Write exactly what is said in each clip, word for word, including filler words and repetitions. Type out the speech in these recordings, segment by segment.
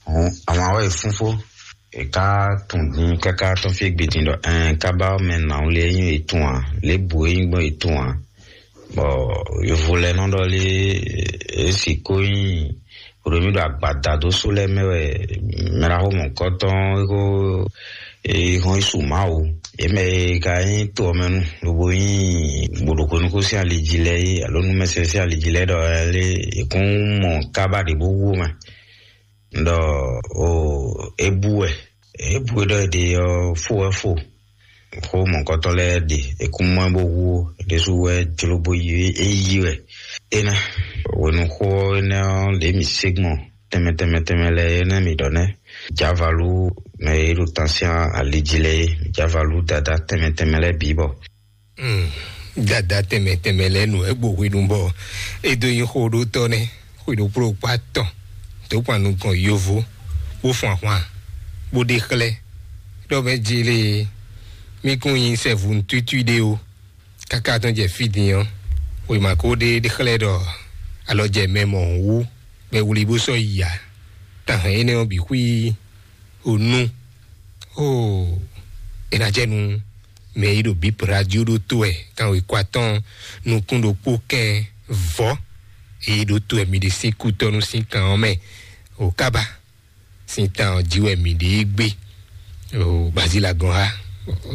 Hɔn, àwọn awɛ fúnfó, è ká tún dín káká tɔn fí gbedin ɖɔ ɛn kábá mɛ nǎwú lé nyí ètún ǎ, lě bǔ é nyí gbɔn ètún ǎ. Bɔ yovo lɛ nɔ ɖɔ lé, èsì kó nyí ɖo mí ɖo agbada dó só lɛ mɛ wɛ mɛɖaxó mɔ̌kɔtɔn é kó é hɔn yi su Mawu. Yě mɛ e ka nyí to ɔ́ mɛ nu lobo nyí gbòɖoxonúkó sín ali jí lɛ́ɛ é alo númɛsɛn sín ali jí lɛ́ɛ ɖɔ lé è kún mɔ kábá ɖě bó wú mɛ. Ɖɔ o é bú wɛ, é bú wɛ ɖɔ è ɖe ɔ fó wɛ fó. Xó mɔ̌kɔtɔn lɛ́ɛ ɖe è kún mɔ ɛ bó wú ó, ɖésú wɛ jló bó yi é yí wɛ. Énɛ́ hwenuxó ɔ́ énɛ́ ɔ́ ɖě mǐ sé gbɔn tɛnmɛ tɛnmɛ tɛnmɛ lɛ́ɛ énɛ́ mǐ ɖɔ nɛ́. Jǎvalú mɛ e ɖo tán sín ali jí lɛ́ɛ é, Jǎvalú dadá tɛnmɛ tɛnmɛ lɛ́ɛ bǐ bɔ. Hmm, dada tɛnmɛ tɛnmɛ lɛ́ɛ nǔ wɛ gbo hwenu bɔ é dó nyí xó ɖó tɔ́ nɛ́. Xwedó kpló kpá tɔn dó kpan nukɔn yovo bó fun ahwan bó ɖe xlɛ́ ɖɔ mɛ jele mí kún nyi sɛvu nǔtútú ɖé o. Káká tɔn jɛ fí din ɔ́, wěma ko ɖe ɖe xlɛ́ ɖɔ alɔ jɛ mɛ mɔ̌ wú bɔ è wlí bó sɔ́ yi ǎ. Tán hɛn énɛ́ ɔ́ bǐ xwí o nú. Oo, é ná jɛ nú mɛ e ɖo bǐ radio ɖó tó wɛ kanwekɔ atɔn nukún ɖokpó kɛn vɔ̌ e ɖó tó wɛ mi ɖe sín kútɔ́nú sín kan ɔ́ mɛ o kábá sín tan ɔ́ jí wɛ mi ɖe é gbé. O bazila gɔn ha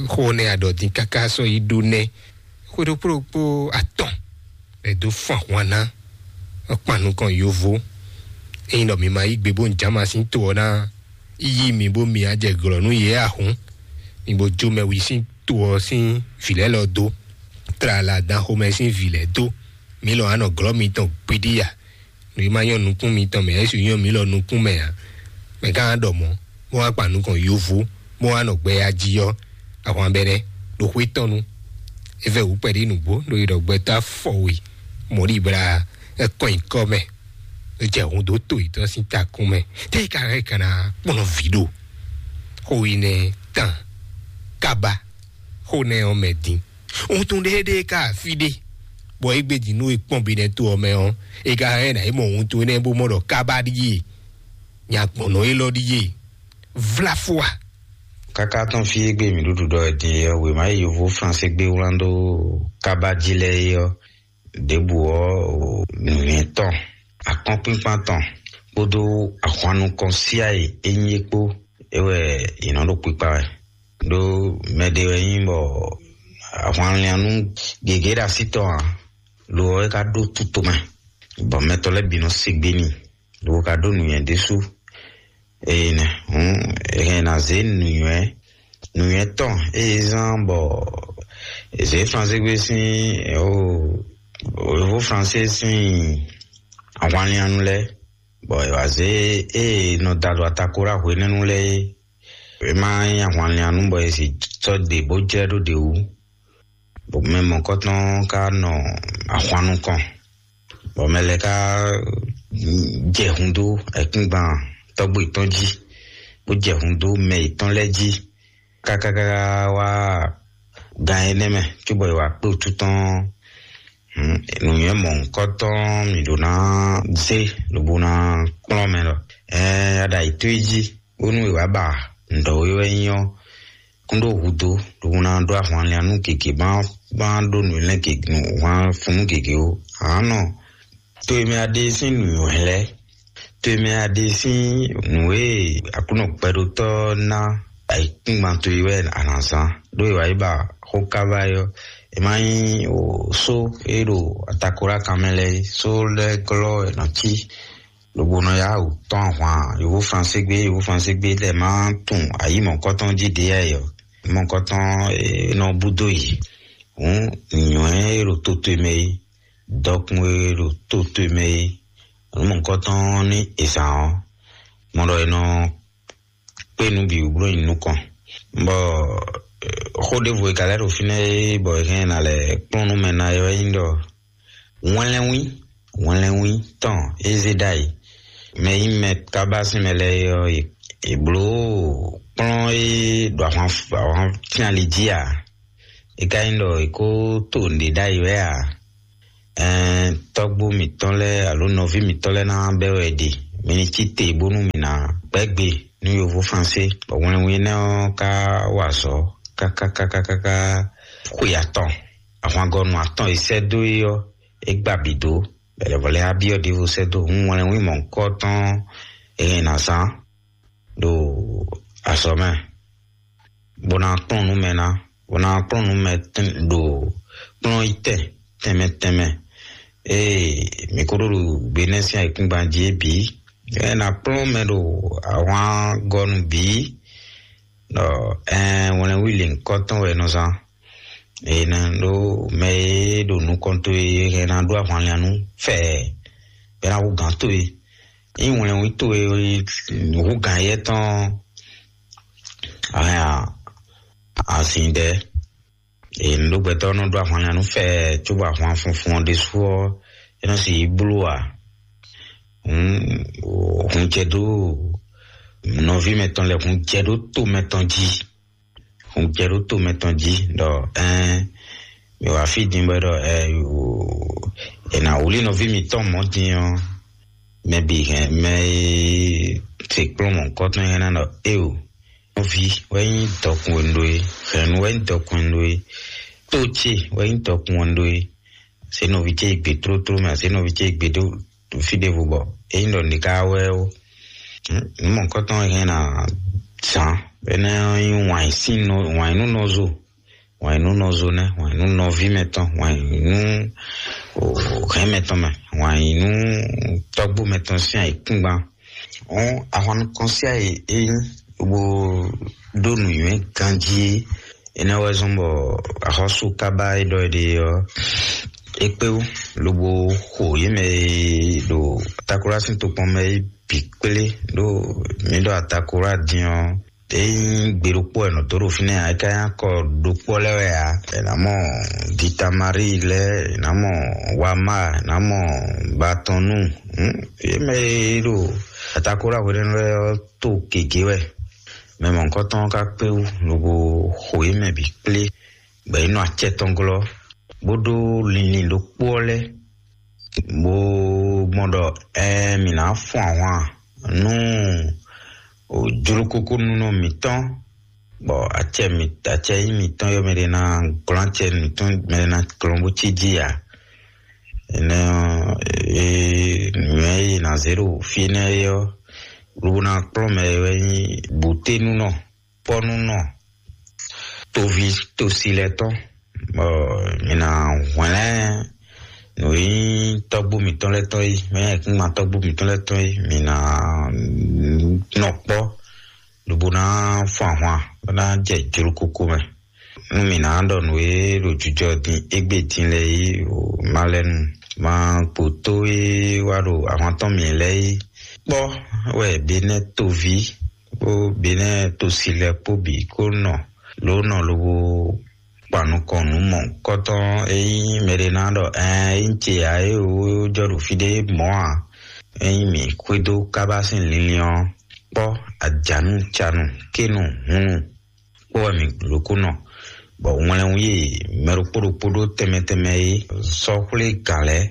xó nɛ aɖɔ dín káká sɔ́ yi ɖó nɛ xwéɖokplókpó atɔn ɛ dó fún ahwan ná kpan nukɔn yovo. Ényí ɖɔ mi ma yí gbe bó un jǎma sín to ɔ́ ná yí mi bó mi á jɛ glɔ̌ nú yě ahǔn. Mi bo jó mɛwi sín to ɔ́ sín vǐ lɛ́ɛ lɔ dó, tlala dan xomɛ sín vǐ lɛ́ɛ dó. Mi lɔ anɔ glɔ́ mitɔn gbiɖí a? Nǔ e ma nyɔ́ nukún mitɔn mɛ, Yesu nyɔ́ mi lɔ nukún mɛ ǎ. Mɛ gán ɖɔ mɔ̌, bó wá kpa nukɔn yovo, bó wá nɔ gbɛ ya jí ɔ́, ahwan bɛnɛ ɖo xwé tɔn nu. É vɛ wǔ kpɛɖé nǔgbó ɖo yi ɖɔ gbɛtɔ́ afɔwe mɔ̌ ɖi bla ɛ kɔn nyǐkɔ mɛ, é jɛ hun dó to yětɔn sín takún mɛ. Tɛ́ é ka hɛn kana kplɔ́n vǐ ɖo xó yi nɛ tán kaba xó nɛ ɔ́ mɛ din. Wuntun ɖéɖéé ka afi ɖé, bɔ é gbé din nú é kpɔ́n bi nɛ to ɔ́ mɛ ɔ́, é ka hɛn ná é mɔ wuntun énɛ́ bó mɔ ɖɔ kaba ɖíe nyagbɔ̌nɔ élɔ́ ɖíe vláfua. Káká tɔn fí e gbé mǐ ɖuɖu ɖɔ din ɔ́, wěma e yovo Fransé gbé wlán dó kaba jí lɛ́ɛ é ɔ́, ɖěbǔ ɔ́, nǔnywɛ́ tɔn, akɔ́nkpínkpán tɔn kpódó ahwan nukɔn síá e é nyí é kpó é wɛ è nɔ ɖo kpikpa wɛ. Ɖó mɛɖé wɛ nyí bɔ ahwanliannú gěgé ɖo así tɔn ǎ, lo ɔ́ é ka ɖó tutomɛ, bɔ mɛtɔ́ lɛ́ɛ bǐ nɔ se gbé n'i, lo ka ɖó nǔnywɛ́ ɖésú. Eye nɛ hǔn è hɛn ná zě nǔnywɛ́ nǔnywɛ́ tɔn eye zán bɔ è zě Fransé gbé sín o Yovo Fransé sín ahwanliannú lɛ́ɛ, bɔ è wǎ zě eye nɔ da ɖo atako ɖo hwenɛ́nu lɛ́ɛ é. É má nyí ahwanliannú bɔ è sì sɔ́ ɖe bó jlɛ́ ɖó ɖě wú. Bɔ mɛ mɔ̌kɔtɔn ka nɔ ahwan nukɔn, bɔ mɛ lɛ́ɛ ka jɛ hun dó ayǐkúngban tɔ́gbó yětɔn jí, bó jɛ hun dó mɛ yětɔn lɛ́ɛ jí, kákáká wá gan énɛ́ mɛ, cóbɔ è wǎ kpé wútu tɔn. Nǔnywɛ́ mɔ̌hunkɔtɔn mǐ ɖó ná zé lobo ná kplɔ́n mɛ ɖɔ ɛɛ aɖa yětɔn e jí, bónú è wǎ ba nǔɖɔ e wɛ nyí ɔ́ kún ɖó hudó, lobo ná ɖó ahwanliannú gěgé má má ɖó nǔ lɛ́ɛ gěgé nǔ hwan funu gěgé ó. Ǎnɔ, to e mɛ a ɖe sín nǔnywɛ́ lɛ́ɛ, to e mɛ a ɖe sín nǔ e Aklúnɔ gbɛɖótɔ́ ná ayǐkúngban towe wɛ a nǎ zán, ɖó è wǎ yi ba xó káva é ɔ́, è má nyí só e ɖo atakoɖákan mɛ lɛ́ɛ é, só lɛ́ɛ glɔ́ è nɔ cí, lobo nɔ yá wǔ tɔ́n ahwan yovo Fransé gbé, yovo Fransé gbé lɛ́ɛ má tunwun ayǐ mɔ̌kɔtɔn jí ɖě yá ɔ́, mɔ̌kɔtɔn é nɔ búdó yě. Hǔn nǔnywɛ́ e ɖo to towe mɛ é, dɔkun e ɖo to towe mɛ é, nǔ mɔ̌kɔtɔn ní è zǎn ɔ́, mɔ ɖɔ è nɔ kpé nǔ bǐ wú bló nyi nukɔn. Bɔ xó ɖěvo e ka lɛ́ ɖo fínɛ́ é bɔ è hɛn ná lɛ́ kplɔ́n nú mɛ ná é wɛ nyí ɖɔ wɛnlɛ́nwí wɛnlɛ́nwí tɔn é zé ɖ'ayǐ. Mɛ nyí mɛ kábá sín mɛ lɛ́ɛ é ɔ́, è blǒ kplɔ́n é ɖo ahwan ahwan fínali jí ǎ. É ka nyí ɖɔ è kó to nǔɖé ɖ'ayǐ wɛ ǎ. Ɛɛn, tɔ́gbó mǐtɔn lɛ́ɛ alo nɔví mǐtɔn lɛ́ɛ ná bɛ́ wɛ ɖe, mi ní cí te bónú mǐ ná gbɛ́gbe nú yovó Fransé, bɔ wɛnwin énɛ́ ɔ́ ka wa azɔ̌ kákákákáká xwe atɔn. Ahwangɔnu atɔn e sɛ́ dó é ɔ́, é gba bǐ dó. Bɛlɛvɔlɛ á byɔ́ ɖěvo sɛ́ dó hǔn wɛnwin mɔ̌hunkɔtɔn e hɛn ná zán ɖo azɔ̌ mɛ, bó ná kplɔ́n nǔ mɛ ná, bó ná kplɔ́n nǔ mɛ ɖo kplɔ́n yi tɛn tɛnmɛ tɛnmɛ. Ée mǐ ko ɖó ɖo gbe nɛ́ sín ayǐkúngban jí é bǐ, é ná kplɔ́n mɛ ɖo ahwangɔnu bǐ, ɖɔ ɛɛ wɛnlɛ́nwí lěhunkɔtɔn wɛ è nɔ zán. È nɔ ɖó mɛ e ɖo nukɔn towe e hɛn ná ɖó ahwanlɛ́nnú fɛɛ, bɔ é ná hú gǎn towe. Ényí wɛnlɛ́nwí towe hú gǎn éyɛ́ tɔn, a hɛn azǐn ɖɛ́. È nǔɖogbɛtɔ́ nɔ ɖó ahwanlɛ́nnú fɛɛ, cóbɔ ahwan funfun ɔ́ ɖésú ɔ́, é nɔ sixú bló ǎ. Hǔn, hun jɛ dó nɔví mɛtɔn lɛ́ɛ, hun jɛ dó to mɛtɔn jí. Hun jɛ ɖó to mɛtɔn jí ɖɔ ɛɛ mi wá fí din bɔ ɖɔ ɛɛ è nǎ wlí nɔví mǐtɔn mɔ̌ din ɔ́, mɛ bǐ hɛn mɛ e se kplɔ́n mɔ̌hunkɔtɔn hɛn ná ɖɔ éeǒ. Nɔví wɛ nyí dɔkun e un ɖó é, hɛ̌nnu wɛ nyí dɔkun e un ɖó é, tó ce wɛ nyí dɔkun e un ɖó é. Azě nɔví ce yi gbe tlótló mɛ, azě nɔví ce yi gbe ɖó fí ɖěvo bɔ é nyí ɖɔ nǐ ká wɛ ó. Nǔ mɔ̌hunkɔtɔn e hɛn ná zǎn énɛ́ ɔ́ nyí wǎn yí sín nɔ, wǎn yí nú nɔzo, wǎn yí nú nɔzo nɛ́, wǎn yí nú nɔví mɛtɔn, wǎn yí nú hɛn mɛtɔn mɛ, wǎn yí nú tɔ́gbó mɛtɔn sín ayǐkúngban. Hɔn ahwan nukɔn sín ayǐ é nyí bó ɖó nǔnywɛ́ ganjí é. Énɛ́ wɛ zɔ́n bɔ axɔ́sú kábá e ɖɔ é ɖe ɔ́, é kpé wú lobo xo yě mɛ e ɖo Takolá sín tokpɔn mɛ é bǐ kplé ɖó mǐ ɖo Atakolá din ɔ́. É nyí gbe ɖokpó wɛ nɔ dó ɖo fínɛ́ ǎ, é ka nyí akɔ ɖokpó lɛ́ɛ wɛ ǎ. È nǎ mɔ Gitamarí lɛ́ɛ, è nǎ mɔ Wamá, è nǎ mɔ Batɔnú. Yě mɛ e ɖo Atakolá hwenɛ́nu lɛ́ɛ ɔ́ to gěgé wɛ. Mɛ mɔ̌hunkɔtɔn ɔ́ ka kpé wú lobo xo yě mɛ bǐ kplé, bɔ yě nɔ acɛ tɔn glɔ́, bó ɖó linlin ɖokpó ɔ́ lɛ́ɛ, bó gbɔn ɖɔ ɛɛ mǐ ná fun ahwan nú jlokoko nunɔ mǐtɔn, bɔ acɛ mǐ acɛ nyí mǐtɔn yɔ mɛ ɖé ná glɔ́n acɛ mǐtɔn mɛ ɖé ná glɔ́n bó cí jí ǎ. Énɛ́ ɔ́, nǔnywɛ́ e è nǎ zé ɖo fí énɛ́ é ɔ́, lobo ná kplɔ́n mɛ e wɛ nyí bǔténúnɔ, kpɔ́núnɔ, toví tosi lɛ́ɛ tɔn, bɔ mǐ ná hwlɛ́n nǔ e nyí tɔ́gbó mǐtɔn lɛ́ɛ tɔn é, mɛ e kún ma tɔ́gbó mǐtɔn lɛ́ɛ tɔn é, mǐ ná nɔ kpɔ́, lobo ná fun ahwan, bó ná jɛ jlokoko mɛ. Nú mǐ ná ɖɔ nǔ e ɖo jijɔ din égbé din lɛ́ɛ é, o má lɛ́ nu, má kpo tó e wá ɖo ahwan tɔn mǐ lɛ́ɛ é. Kpɔ́ wɛ Benɛ́ toví kpó Benɛ́ tosi lɛ́ɛ kpó bǐ kó nɔ lǒ nɔ lobo kpan nukɔn nǔ mɔ̌hunkɔtɔn. Ényí mɛɖé ná ɖɔ ɛɛ ényí ce ǎ é wǒ jɔ ɖo fí ɖé mɔ̌ ǎ, ényí mǐ xwedó kábá sín linlin ɔ́, kpɔ́ ajǎnu canu kénu hunnu kpó wɛ mǐ lǒ kó nɔ, bɔ wlɛnwú e mɛ ɖokpó ɖokpó ɖó tɛnmɛ tɛnmɛ é sɔ́ xwlé gǎn lɛ́ɛ,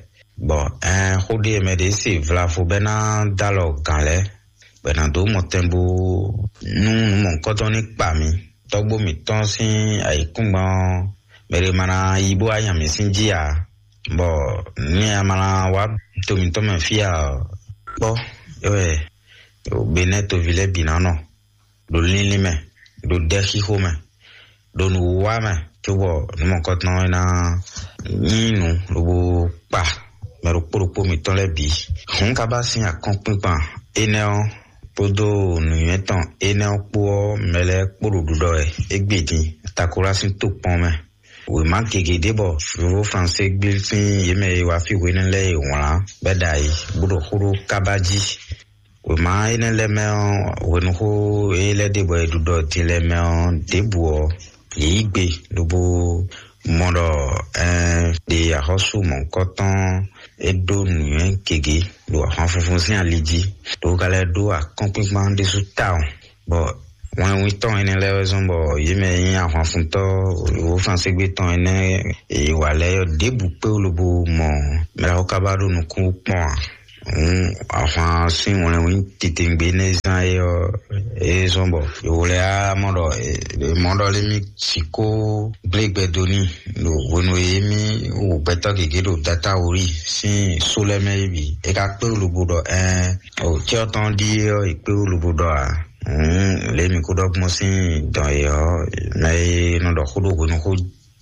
bɔ ɛɛ xó ɖé e mɛ ɖě se vlavo bɔ é ná dó alɔ gǎn lɛ́ɛ, bɔ è nǎ dó mɔtɛn bó nú nǔ mɔ̌hunkɔtɔn ní kpa mǐ. Tɔ́gbó mǐtɔn sín ayǐkúngban ɔ́, mɛ ɖé ma ná yi bó wá nya mǐ sín jí ǎ, bɔ nú nya ma ná wá to mǐtɔn mɛ fí ǎ ɔ́, kpɔ́ é wɛ Benɛ́ toví lɛ́ɛ bǐ ná nɔ ɖo linlin mɛ, ɖo ɖɛxixo mɛ, ɖo nǔwiwa mɛ, cóbɔ nǔ mɔ̌hunkɔtɔn e ná nyí nǔ lobo kpa mɛ ɖokpó ɖokpó mǐtɔn lɛ́ɛ bǐ. Hǔn kábá sín akɔ́nkpinkpan énɛ́ ɔ́ kpódó nǔnywɛ́ tɔn énɛ́ ɔ́ kpó ɔ́, mɛ lɛ́ɛ kpó ɖo ɖiɖɔ wɛ égbé din Takolá sín tokpɔn mɛ. Wěma gěgé ɖé bɔ fofó Fransé gbé sín yě mɛ e wá fí hwenɛ́ lɛ́ɛ e wlǎn bɔ é ɖo ayǐ bó ɖo xó ɖó kábá jí. Wěma énɛ́ lɛ́ɛ mɛ ɔ́, hwenuxó e lɛ́ ɖe bɔ è ɖu ɖɔ din lɛ́ɛ mɛ ɔ́, ɖěbǔ ɔ́, yě yí gbe lobo mɔ ɖɔ ɛɛ ɖe axɔ́sú mɔ̌hunkɔtɔn é ɖó nǔnywɛ́ gěgé ɖo ahwan funfun sín ali jí, ɖo ka lɛ́ ɖó akɔ́nkpinkpan ɖésú tawun, bɔ wɛnwítɔ́ énɛ́ lɛ́ɛ wɛ zɔ́n bɔ yě mɛ e nyí ahwanfuntɔ́ wǒ Fransígbe tɔn énɛ́ e wa lɛ́ɛ ɔ́, ɖěbǔ kpé wú lobo mɔ mɛ ɖaxó kábá ɖo nukún kpɔ́n ǎ. Hǔn ahwan sín wlɛnwí titewungbe énɛ́ zán é ɔ́, é zɔ́n bɔ yǒ lɛ́ɛ á mɔ ɖɔ mɔ̌ ɖɔ lé mì sixú gblé gbɛ dó n'i ɖo hwenu e émí wu gbɛtɔ́ gěgé ɖo datawuli sín só lɛ́ɛ mɛ é bǐ. É ka kpé wú lobo ɖɔ ɛɛn, o cyɔ tɔn ɖíe ɔ́, è kpé wú lobo ɖɔ ǎ. Hǔn lě mǐ kó ɖɔ gbɔn sín dɔn e ɔ́, mɛ e nɔ ɖɔ xó ɖo hwenu xó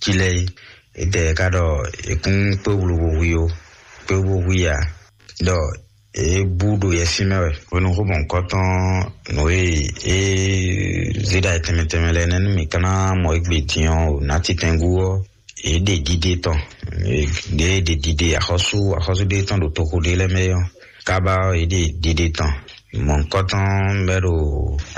jí lɛ́ɛ é, étɛ́ ka ɖɔ è kún kpé wú lobo hu i ó, kpé wú bó hu i ǎ. Ɖɔ é bú ɖo yɛsín mɛ wɛ. Hwenu xó mɔ̌hunkɔtɔn nǔ e é zé ɖa tɛnmɛ tɛnmɛ lɛ́ɛ nɛ́ nú mǐ ka ná mɔ égbé din ɔ́, o nǎ titɛngú ɔ́, é ɖe ɖiɖe tɔn. Ɖě é ɖe ɖiɖe axɔ́sú axɔ́sú ɖé tɔn ɖo toxo ɖé lɛ́ɛ mɛ ɔ́, kábá ɔ́, é ɖe ɖiɖe tɔn. Mɔ̌hunkɔtɔn bɛ́ ɖo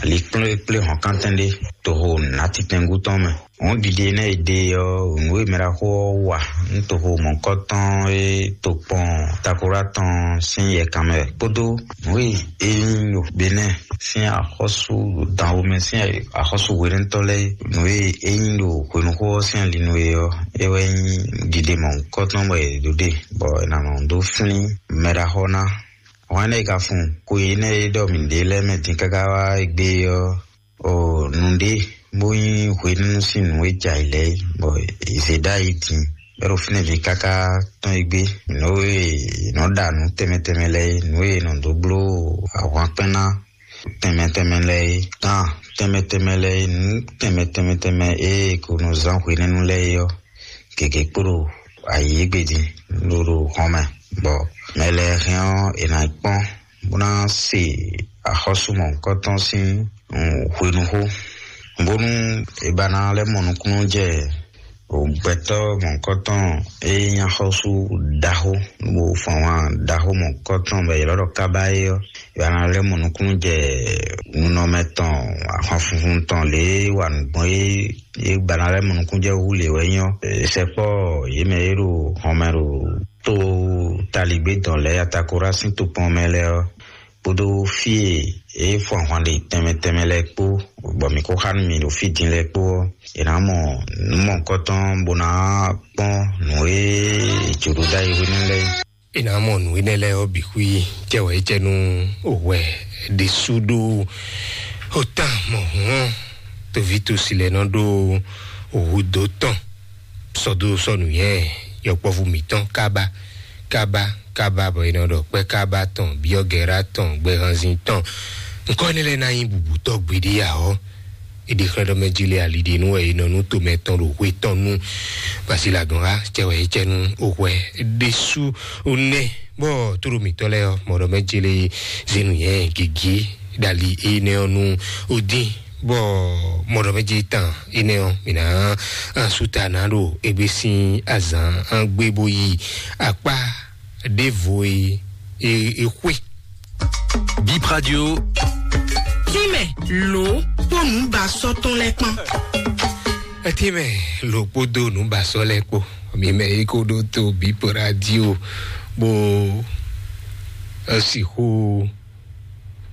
ali kplé kplé hɔ̌nkántɛn ɖé toxo nǎ titɛngú tɔn mɛ. Hǔn ɖiɖe énɛ́ e ɖe ɔ́, nǔ e mɛ ɖaxó ɔ́ wa nú toxo mɔ̌hunkɔtɔn e tokpɔn Takolá tɔn sín yɛkan mɛ kpódó nǔ e é nyí ɖo Benɛ́ɛ sín axɔ́sú ɖo danwó mɛ sín axɔ́sú hwenɛ́tɔ́ lɛ́ɛ, nǔ e é nyí ɖo hwenuxó ɔ́ sín ali nú é ɔ́, é wɛ nyí ɖiɖe mɔ̌hunkɔtɔn bɔ è ɖǒ ɖe, bɔ è nǎ nɔ dó flín mɛ ɖaxó ná. Hwɛ̌n é ka fun xwe énɛ́ e ɖɔ mǐ ɖe lɛ́ɛ mɛ din káká wá égbé ɔ́, o nǔɖé bó nyí hwenɛ́nu sín nǔ e jɛ ayǐ lɛ́ɛ é, bɔ è zě ɖó ayǐ din bɔ é ɖo fínɛ́ din káká tɔn égbé. Nǔ e è nɔ ɖa nǔ tɛnmɛ tɛnmɛ lɛ́ɛ é, nǔ e è nɔ dó bló ahwankpɛ́n ná tɛnmɛ tɛnmɛ lɛ́ɛ é, gǎn tɛnmɛ tɛnmɛ lɛ́ɛ é, nǔ tɛnmɛ tɛnmɛ tɛnmɛ e è ko nɔ zán hwenɛ́nu lɛ́ɛ é ɔ́, gěgé kpo ɖo ayǐ égbé din ɖo ɖo hɔn mɛ, bɔ mɛ lɛ́ɛ hɛn ɔ́, è nǎ kpɔ́n bó ná se axɔ́sú mɔ̌hunkɔtɔn sín hwenuxó, bónú è ba ná lɛ́ mɔ nukúnnú jɛ gbɛtɔ́ mɔ̌hunkɔtɔn e nyí axɔ́sú ɖaxó, bó fɔ́n wá ɖaxó mɔ̌hunkɔtɔn bɔ è ylɔ́ ɖɔ kábá é ɔ́, è ba ná lɛ́ mɔ nukúnnú jɛ nunɔmɛ tɔn, ahwan funfun tɔn lě e wa nǔ gbɔn é, é ba ná lɛ́ mɔ nukúnnú jɛ hú lě wɛ nyí ɔ́, sɛkpɔ́ yě mɛ e ɖo hɔnmɛ ɖo to taligbé dɔn lɛ́ɛ Atakorá sín tokpɔn mɛ lɛ́ɛ ɔ́, kpódó fí e é fɔ ahwan ɖe tɛnmɛ tɛnmɛ lɛ́ɛ kpó, bɔ mǐ ko xá nú mǐ ɖo fí din lɛ́ɛ kpó ɔ́, è nǎ mɔ nǔ mɔ̌hunkɔtɔn bó ná kpɔ́n nǔ e è jǒ ɖó ɖ'ayǐ hwenu lɛ́ɛ. È nǎ mɔ nǔ énɛ́ lɛ́ɛ ɔ́ bǐ xwí cɛwɛ̌cɛ́nú hwɛ ɖésú ɖó otán mɔ̌hun ɔ́, toví tosi lɛ́ɛ nɔ ɖó hǔdó tɔn sɔ́ dó sɔ́ nǔnywɛ́ yɔkpɔ́vú mǐtɔn kábá kábá kábá, bɔ è nɔ ɖɔ kpɛ́ kábá tɔn, byɔ́gɛ̌rá tɔn, gbɛhanzin tɔn. Nǔkɔ énɛ́ lɛ́ɛ ná nyí bǔbútɔ́ gbeɖé ǎ ɔ́, è ɖe xlɛ́ ɖɔ mɛ jí lé ali ɖe nú wɛ è nɔ nú tomɛ tɔn ɖo hwe tɔn nú. Basi lagɔn xá cɛ wɛ é cɛ nú oxwɛ ɖésú nɛ, bɔ tóɖo mǐtɔn lɛ́ɛ ɔ́, mɔɖɔ mɛ jí lé zenu yɛ gigi ɖali énɛ́ ɔ́ nú odín, bɔ mɔɖɔ mɛ jí tán énɛ́ ɔ́, mǐ ná sú ta ná ɖo égbé sín azǎn gbé bó yi akpá ɖěvo e e e xwé. Bip Radio. Tínmɛ lǒ kpó nǔbasɔ́ tɔn lɛ́ɛ kpán. Etínmɛ lǒ kpódó nǔbasɔ́ lɛ́ɛ kpó. Mi mɛ yi kó ɖó tó Bip Radio bó sixú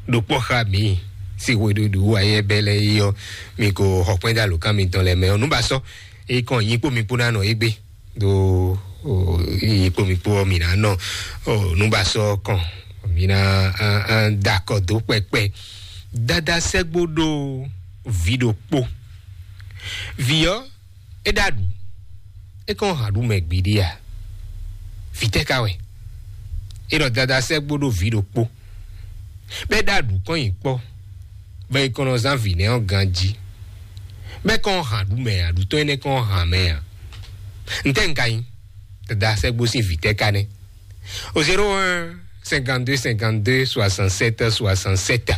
ɖo kpɔ́ xá mi. Sixú ɖuɖu ayɛbɛlɛ yi ɔ́, mi ko xɔ kpɛ́n dó alǒkan mitɔn lɛ́ɛ mɛ ɔ́. Nǔbasɔ́ e kɔn nyi kpó mi kpó ná nɔ égbé ɖo yi kpó mi kpó ɔ́, mi ná nɔ nǔbasɔ́ kɔn, mi ná da akɔ dó kpɛkpɛ. Dada sɛ́gbó ɖó vǐ ɖokpó. Vǐ ɔ́, é ɖo aɖǔ, é kɔn hǎn ɖu mɛ gbiɖi a? Vǐ tɛ́ ka wɛ? É ɖɔ dada sɛ́gbó ɖó vǐ ɖokpó, bɔ é ɖo aɖǔ kɔn nyi kpɔ́, bɔ é kɔn nɔ zán vǐ nɛ́ ɔ́ ganjí, bɔ é kɔn hǎn ɖu mɛ a? Aɖǔ tɔn énɛ́ kɔn hǎn mɛ a? Ntɛ́ un ka nyí? Dada sɛ́gbó sín vǐ tɛ́ ka nɛ́? Au zéro un cinquante-deux cinquante-deux soixante-sept soixante-sept.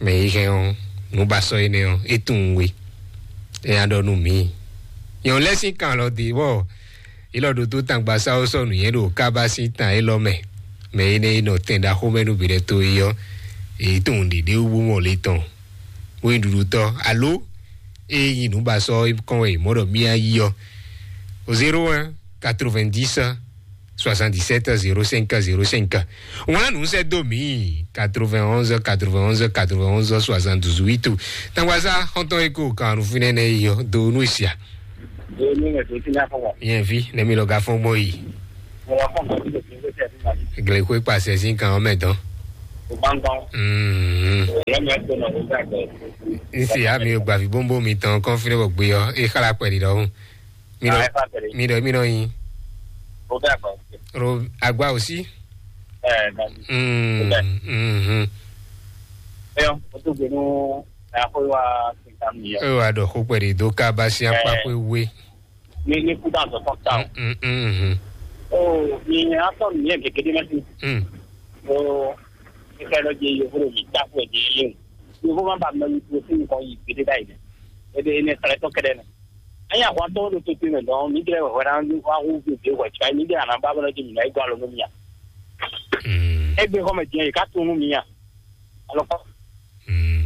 Mɛ yi hɛn ɔ́, nǔbasɔ́ énɛ́ ɔ́, é tunwun we. É nya ɖɔ nú mǐ. Nyɔ̌nu lɛ́ɛ sín kan lɔ dě bɔ é lɔ ɖo tó tangbasáwó sɔ́ nǔnywɛ́ ɖo kábá sín tan élɔ́ mɛ. Mɛ énɛ́ e nɔ tɛn ɖaxó mɛ nú bǐɖɛ́ tó é ɔ́, é tunwun ɖěɖé wú bó mɔ le tɔn, bó nyí ɖuɖutɔ́ alo é nyí nǔbasɔ́ kɔn wɛ è mɔ ɖɔ mía yí ɔ́. Au zéro un quatre-vingt-dix soixante-dix-sept zéro cinq zéro cinq. Wlán nǔ sɛ́ dó mǐ quatre-vingt-onze quatre-vingt-onze quatre-vingt-onze soixante-douze huit. Tangwaza xɔntɔn e ko kan nu fínɛ́ nɛ́ yi ɔ́, do nú sia. Yɛn vi nɛ́ mi lɔ ga fɔ́n gbɔn yi. Glexwe kpasɛ sín kan ɔ́ mɛ tɔn. Mm. N se ya mi gba vi bóbó mi tɔn kɔn fi ne bɔ gbe ɔ́ e xala kpɛ ɖi ɖɔhun. Mi ɖɔ mi ɖɔ mi ɖɔ yin. Ro agba aussi. Mm. Mm. Ẹ wá ɖɔ xó kpɛ ɖi dó ká bá sí akpá xwé wé. Ní ní kú dá zɔ tán ta o. Mm, mm, mm. O ní atɔ nìyẹn gègé dé mẹsì. Mm. O ìfẹ́ lọ jẹ yòókù ló yìí dákú ẹ̀ jẹ yé o. Yòókù má ba mẹ́rin tó sí nǹkan yìí gbé dé báyìí dẹ. Ebe ne sàlẹ̀ tọ́ kẹ́dẹ́ nẹ. Ẹ̀yin àwọn atọ́ ló tó tó mẹ dán mi jẹ́ wẹ̀wẹ́ náà wá hú gbèsè wẹ̀ tí mi jẹ́ àná bá bọ́lá jẹ mi náà égún alọ́ lómi yá. Mm. Ẹgbẹ́ kọ́ mẹ jẹ́ yìí ká tó nú mi yá. Alɔ kọ́. Mm.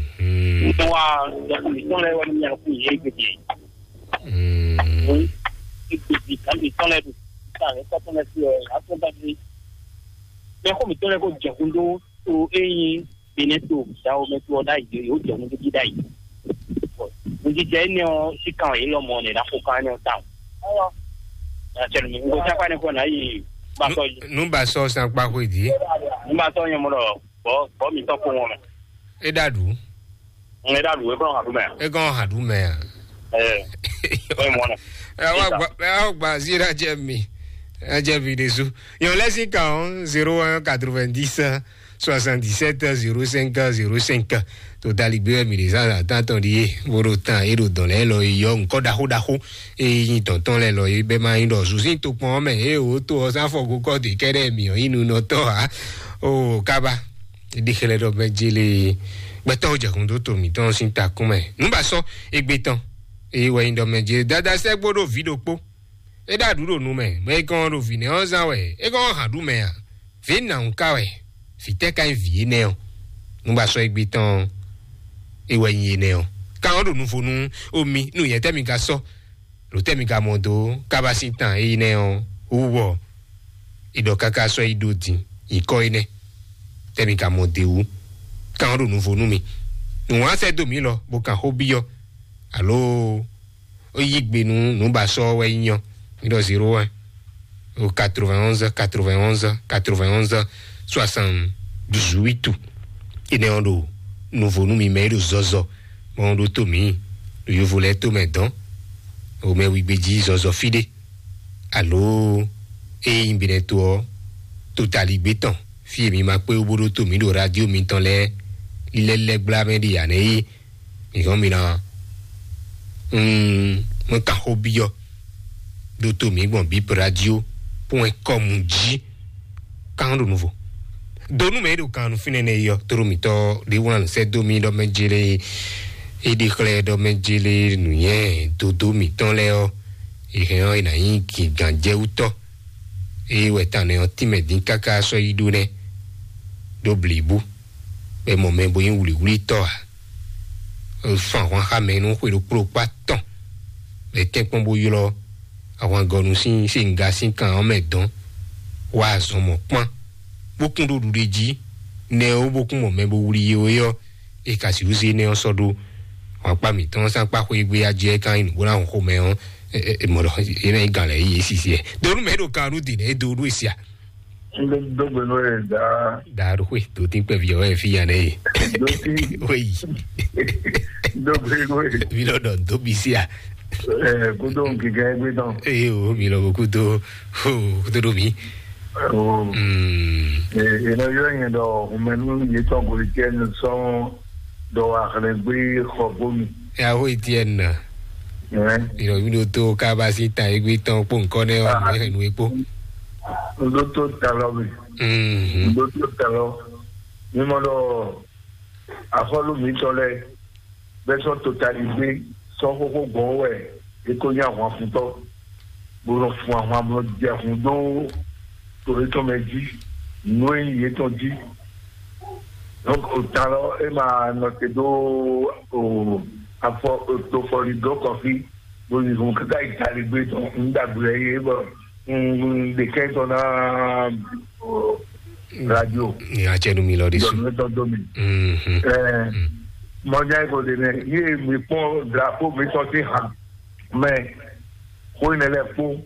Ní wa jẹ́ kó mi tán lẹ́wọ́ ní yàrá kó yé gbèsè. Mm. Ní gbèsè kan mi tán lẹ́dùn. Nígbà rẹ̀ kọ́ tán lẹ́ sí ẹ̀ atọ́ bá dé. Bẹ́ẹ̀ kó mi tán lẹ́ kó jẹ̀kún dó tó eyín Benin to Dahomey to ɔ́ ɖ'ayǐ yǒ jɛ nǔɖuɖu ɖ'ayǐ. Nǔjijɛ énɛ́ ɔ́ síkan wɛ yě lɔ mɔ nɛ ɖaxo kan énɛ́ ɔ́ tawun. Acɛnumi nko tí akpa ne kɔ nǎ yi basɔ yi. Nú ba sɔ san kpa xwe dǐ. Nú ba sɔ nyɛ mɔ ɖɔ bɔ bɔ mi tɔ ko wɔn mɛ. É ɖa ɖu. Ŋlɛ ɖa ɖu é kɔ hàn ɖu mɛ. É kɔ hàn ɖu mɛ a. Ɛ ɔ mɔ nɛ. Ɛ wá gba ɛ wá gba sí ɖa jẹ mi. Ɛ jẹ mi ɖésú. Yɔn lɛ sí kan ɔ́ zéro un quatre-vingt-dix soixante-dix-sept zéro cinq zéro cinq. Totali gbé wɛ mi ɖe zan zan tán tɔn ɖi yé bó ɖo tán é ɖo dɔn lɛ lɔ yɔ nkɔ ɖaxó ɖaxó. Eye nyi tɔntɔn lɛ lɔ yé bɛ ma nyi ɖɔ zuzin tokpɔn mɛ eye wò to ɔ sanfɔ gokɔ de kɛɖɛ mi ɔ yinu nɔ tɔ ha. O kaba ɖi xlɛ ɖɔ mɛ jele gbɛtɔ jɛkun dó to mǐtɔn sín takún mɛ nú ba sɔ egbe tɔn. Eye wɛ nyi ɖɔ mɛ jele dada sɛ gbó ɖo vǐ ɖokpó. É ɖo aɖǔ ɖo nu mɛ, mɛ e kɔn ɖo vǐ nɛ́ ɔ́ zán wɛ é kɔn hǎn ɖu mɛ a? Vǐ nǎwún ka wɛ? Vǐ tɛ́ ka nyí vǐ énɛ́ ɔ́? Nú ba sɔ́ égbé tɔn ɔ́, é wɛ nyí énɛ́ ɔ́. Ka ɔ́ ɖo nuvo nú omi nú nyɛ tɛ́ mi ka sɔ́? Ɖo tɛ́ mi ka mɔ dó kábá sín tan é nyí nɛ́ ɔ́ wú bɔ è ɖɔ káká sɔ́ yi ɖó din nyǐkɔ énɛ́? Tɛ́ mi ka mɔ d'é wú? Ka ɔ́ ɖo nuvo nú mi. Nǔ wá sɛ́ dó mǐ lɔ bó kan xó byɔ́, alo ó yí gbe nú nǔbasɔ wɛ nyí ɔ́, mi ɖɔ zéro un o quatre-vingt-onze quatre-vingt-onze quatre-vingt-onze soixante-dix-huit. Énɛ́ ɔ́ ɖo nuvo nú mi mɛ e ɖo zɔzɔ mɔ ɔ́ ɖótó mǐ ɖo yovo lɛ́ɛ tó mɛ dɔn o mɛ wigbe jí zɔzɔ fí ɖé, alo ée nyí binɛto ɔ́, totaligbé tɔn fí e mi ma kpé wú bó ɖótó mǐ ɖo radio mitɔn lɛ́ɛ lílɛ́ lɛ́ gbla mɛ ɖi ǎ nɛ́ é. Mi hɔn mi ná un mɔ kan xó byɔ́ ɖó tó mǐ gbɔn bíp radio pɔ́n kɔmu jí kan ɖo nuvo. Donu mɛ e ɖo kan nu fínɛ́ nɛ yɔ tóɖó mǐtɔn ɖé wlán sɛ́ dó mì ɖɔ mɛ jélé é ɖi xlɛ́ ɖɔ mɛ jélé nǔnyɛ dodó mǐtɔn lɛ́ɛ ɔ́, è hɛn ɔ́ è nǎ nyí gǐngán jɛ wú tɔ́. Ée wɛ tánɛ ɔ́ tínmɛ dín káká sɔ́ yi ɖó nɛ́ ɖó blǐbú. Bɛ mɔ mɛ bo nyí wlǐwlítɔ́ ǎ. Fán ahwan xá mɛ nú xwe ɖokpó ɖokpó atɔn. Bɛ tɛ́nkpɔ́n bó ylɔ́ ahwangɔnu sín sínga sín kan ɔ́ mɛ dɔn. Wá azɔn mɔ̌ kpán, bó kún ɖó ɖuɖe jí. Nɛ ó bó kún mɔ mɛ bo wlí yé ó é ɔ́, é ka sixú zé énɛ́ ɔ́ sɔ́ ɖó. Wǎnkpá mǐtɔn ɔ́ sín akpá xwé gbé ajɛ é ka nyí nǔ bó ná hun xomɛ ɔ́, é mɔ ɖɔ é ná nyí gǎn lɛ́ɛ yí é sisi ɛ. Donu mɛ ɖo kan nú dǐn é dó ɖó é sia. Dógbe nú ɛ dá. Dǎ ɖo xwé dòtín kpɛví ɔ́ wɛ fí ya nɛ ye. Dógbe. Wéyi. Dógbe nú ɛ. Mi lɔ dɔ dó mi sia. Ɛ kúndó nkìkẹ́ gbé tán. Eye o mi lɔ kúndó o kúndó ɖó mi. O. Mm. Ɛ ɛ nɔ yɔ yẹn dɔ humɛnu yetɔn golikɛ nu sɔn dɔ wa xlɛ gbé xɔ bómi. Yaho Etienne. Ɛ. Ìrọ̀bí ló tó kábàásì ta égbé tán kpó nǹkan náà wà ní ẹ̀nu epo. Ló tó ta lọ mi. Mhm. Ló tó ta lọ. Mímọ́ lọ afɔlu mi tɔ lɛ bɛ sɔ totali gbé sɔ xóxó gbɔn wɛ é kó nyí ahwan fúntɔ bó nɔ fún ahwan bó nɔ jɛ hun dó to étɔn mɛ jí nú é nyí yétɔn jí. Donc o ta lɔ é ma nɔ te dó o afɔ o tofɔli dó kɔfí bó yi hun kaka yi tali gbé tɔn un dàgbé yɛ yé bɔ un ɖe kɛ tɔn ná o radio. Ní atsɛ nu mi lɔ de su. Dɔnni tɔn dó mi. Mhm. Ɛɛ mɔdza yi ko de nɛ yé mi kpɔn drapeau mi tɔn ti hàn mɛ xó yi nɛ lɛ kpó.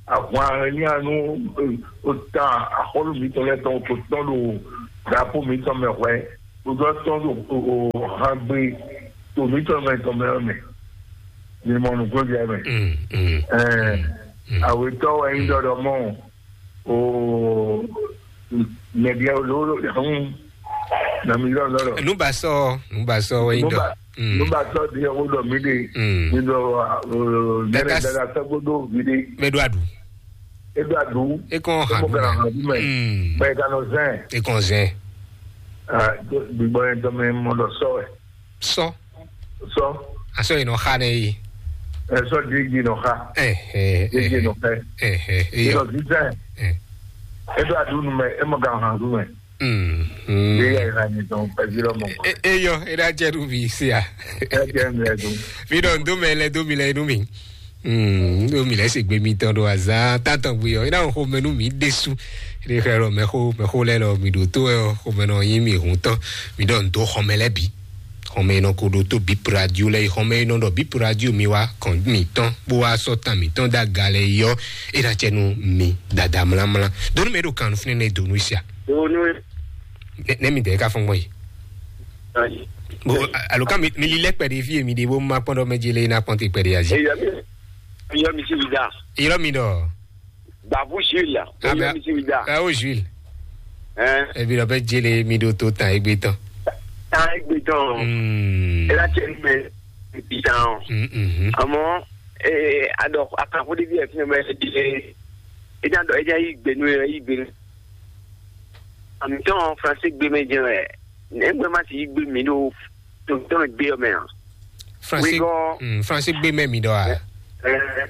Ahwan énɛ́ ɔ́ nú, eh, o ta axɔ́lú mǐtɔn lɛ́ɛ tɔn ko tɔn ɖo drapo mǐtɔn mɛ hwɛ, kpódó tɔn ɖo, o, o, hangbe to mǐtɔn mɛ tɔn mɛ ɔ́ mɛ. Mi mɔ nǔgbó jɛ mɛ. Mm, mm, Ɛɛ, mm, mm. Awetɔ wɛ nyí ɖɔɖɔ mɔ o, mɛɖia o lolo hun na mi lɔ lɔlɔ. Nubasɔ, nubasɔ wɛ nyí ɖɔ. Nuba Mm. nuba tɔ di o ɖɔ mi de. Mm. Mi ɖɔ, o, Dada nɛnɛ s- dada sɛgbó ɖo mi de. Mɛ ɖo aɖu. E ɖo aɖu. E kɔn ha Emo ɖu kana mɛ. Hàn ɖu mɛ. Mm. Bɛ e kana zɛn. E kɔn zɛn. Ah, gbígbɔ yẹn tɔ mɛ mɔ ɖɔ sɔ wɛ. Sɔ. Sɔ. Asɔ yi nɔ xa nɛ yi. Ɛ sɔ di di nɔ xa. Ɛ ɛ Di di ɛ nɔ xɛ. Ɛ ɛ Di eyɔ. Nɔ di zɛn. Ɛ. E ɖo aɖu nu mɛ, e mɔ kana hàn ɖu mɛ. Mm, mm. Bí yà ìhà nìkan pẹ̀lú ọmọ. E- eyɔ, e ɖa jɛ ɖu vi sia. Ẹ jẹ́ mi ẹ̀dùn. Mi ɖɔ ndo mɛ lɛ do mi lɛ nu mi. Mm, do mi lɛ se gbe mi tɔn ɖo azan tatɔn gbe yɔ. E na xo mɛ nu mi ɖesu. E ɖe xɛ lɔ mɛ xo mɛ xo lɛ lɔ mi ɖo to ɛ xo mɛ nɔ yin mi hun tɔn. Mi ɖɔ ndo xɔmɛ lɛ bi. Xɔmɛ nɔ ko ɖo to bi radio lɛ xɔmɛ nɔ ɖɔ bi radio mi wa kɔn mi tɔn bo wa sɔ tan mi tɔn da ga lɛ yɔ. E na jɛ nu mi dada mlamla. Do nu mɛ ɖo kan fún ne do nu sia. Donu. Ne mi dɛ ka fɔn gbɔn yi. Ayi. Bo alo ka mi mi li lɛ kpɛɖe fi mi de bo ma kpɔn dɔ mɛ jele na kpɔn te kpɛɖe azi. Eya mi, eya mi si vida. Yɔrɔ mi dɔ. Babu Jules. Ah, Eya mais- mi si vida. Ah, o Jules. Hein? Ebi dɔ bɛ jele mi do to tan egbe tɔn. Tan egbe tɔn. Hmm. Ela tse mɛ. Bitan. Hmm, hmm. Àmọ́, eh, adɔ akanfo de bi ẹ fi mɛ di. Ejan dɔ ejan yi gbenu yi gbenu. Àmìtɔn Fransé gbé mɛ jɛn wɛ. Nɛgbɛ ma ti yí gbé mi ɖo tɔn gbé ɔmɛ a? Fransé, Wígɔ. Mm, Fransé gbé mɛ mi ɖɔ a? Ɛ,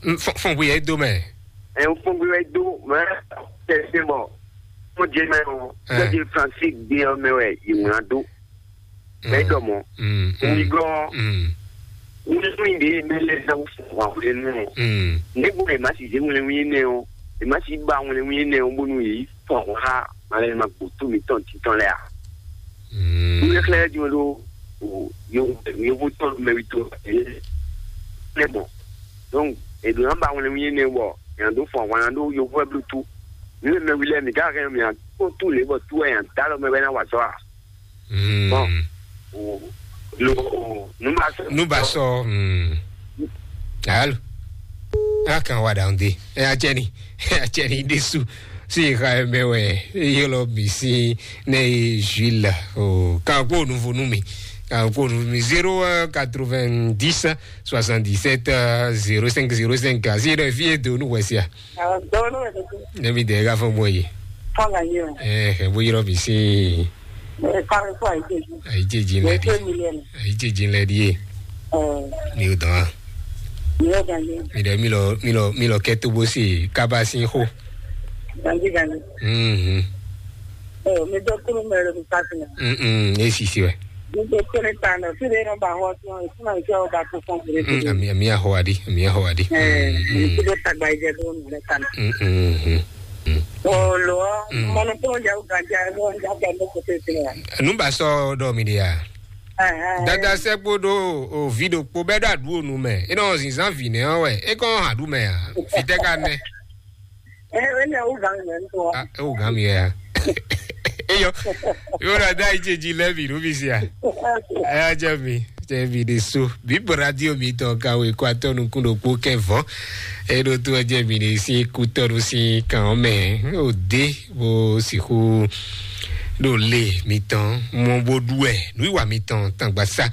Mm, fɔn fɔn gbé yɛ do mɛ. Ɛ, fɔn gbé wɛ do mɛ. Tɛ se bɔ. Mo jɛ mɛ o. Ɛ. Tɛ Fransé gbé ɔmɛ wɛ yìí ŋlá do. Bɛ dɔ mɔ. Mm, mm, Wígɔ. Mm. Wíwí ɖe mɛ lɛ zan fún wa wlé nù. Mm. Ne bo ema si zé wlé wí nɛ o, ema si ba wlé wí nɛ o bonu yi fún wa malɛ ma kpo tu mi tɔn titɔn lɛ a. Mm. Wíwí xlɛ di wolo o yo yo bo tɔn mɛ wi to e ne bɔ. Donc e do na ba wlé wí nɛ bɔ yan do fún wa na do yo fún ɛblu tu. Mi mɛ wi lɛ mi ka kɛ mi a ko tu le bɔ tu ɛ yan da lɔ mɛ bɛ na wa sɔ a. Mm. Bon. O, lo, o, nu ba sɔ. Nu ba sɔ. Mm. Alo. A kan wa da nde. E a jẹ ni. E a jẹ ni desu. Si ka mɛ wɛ. E yɔlɔ mi si ne Jules. O, kan ko nu vo nu mi. Kan ko nu mi zéro un quatre-vingt-dix soixante-dix-sept zéro cinq zéro cinq. Si dɔ fi e do nu wɛ sia. Dɔwɔnu wɛ tete. Ne mi de ka fɔ bɔ yi. Fɔ la yi o. Eh, e bo yɔrɔ mi si. Eh, kare fɔ ayi jeji. Ayi jeji lɛ di. Ayi jeji lɛ di. Eh. Mi o dɔn. Mi o dɔn. Mi de mi lɔ mi lɔ mi lɔ kɛ to bo si kaba si xo. Ganji ganji. Mhm. Eh, mi dɔ kuru mɛ lo mi pasi na. Mhm, e si si wɛ. Mi dɔ kuru ta na, si de no ba ho tun, e kuma ke o ba ko fɔn gure. Mhm, ami ami a ho adi, ami a ho adi. Eh, mi si de tagba ije do mi le kan. Mhm. Olo, Mm. Mɔnɔ kúrò yà ó gàdí àìmọ́ ọjà gbà mọ́ kò tẹ̀ sílẹ̀. Nùbà sọ dọ̀ mi di ya. Dada sɛ kpodo o vi ɖokpo bɛ ɖo aɖu onu mɛ. E nɔ zinzan vi nɛ ɔ wɛ. E kɔ hã ɖu mɛ a. Fitɛ ka nɛ. Ɛ ɛ ní ẹwú gàn mí ẹ̀ ń tọ́. Ah, e wò gàn mí ya. Eyɔ. Yóò rà dá ìjèjì lẹ́mìí ló fi ṣe à. Ẹ á jẹ́ mi. Jẹ́ mi de so. Bíbọ̀ radio mi tọ̀ ka wé kó atọ́ nukún ɖokpó kẹ́ vɔ́. Eɖo tó jẹ́ mi de sí kútọ́nu sí kàn ɔ́ mɛ. Ó dé bó sixú ɖo lé mi tán mɔ bó ɖú ɛ nú ìwà mi tán tàgbà sá.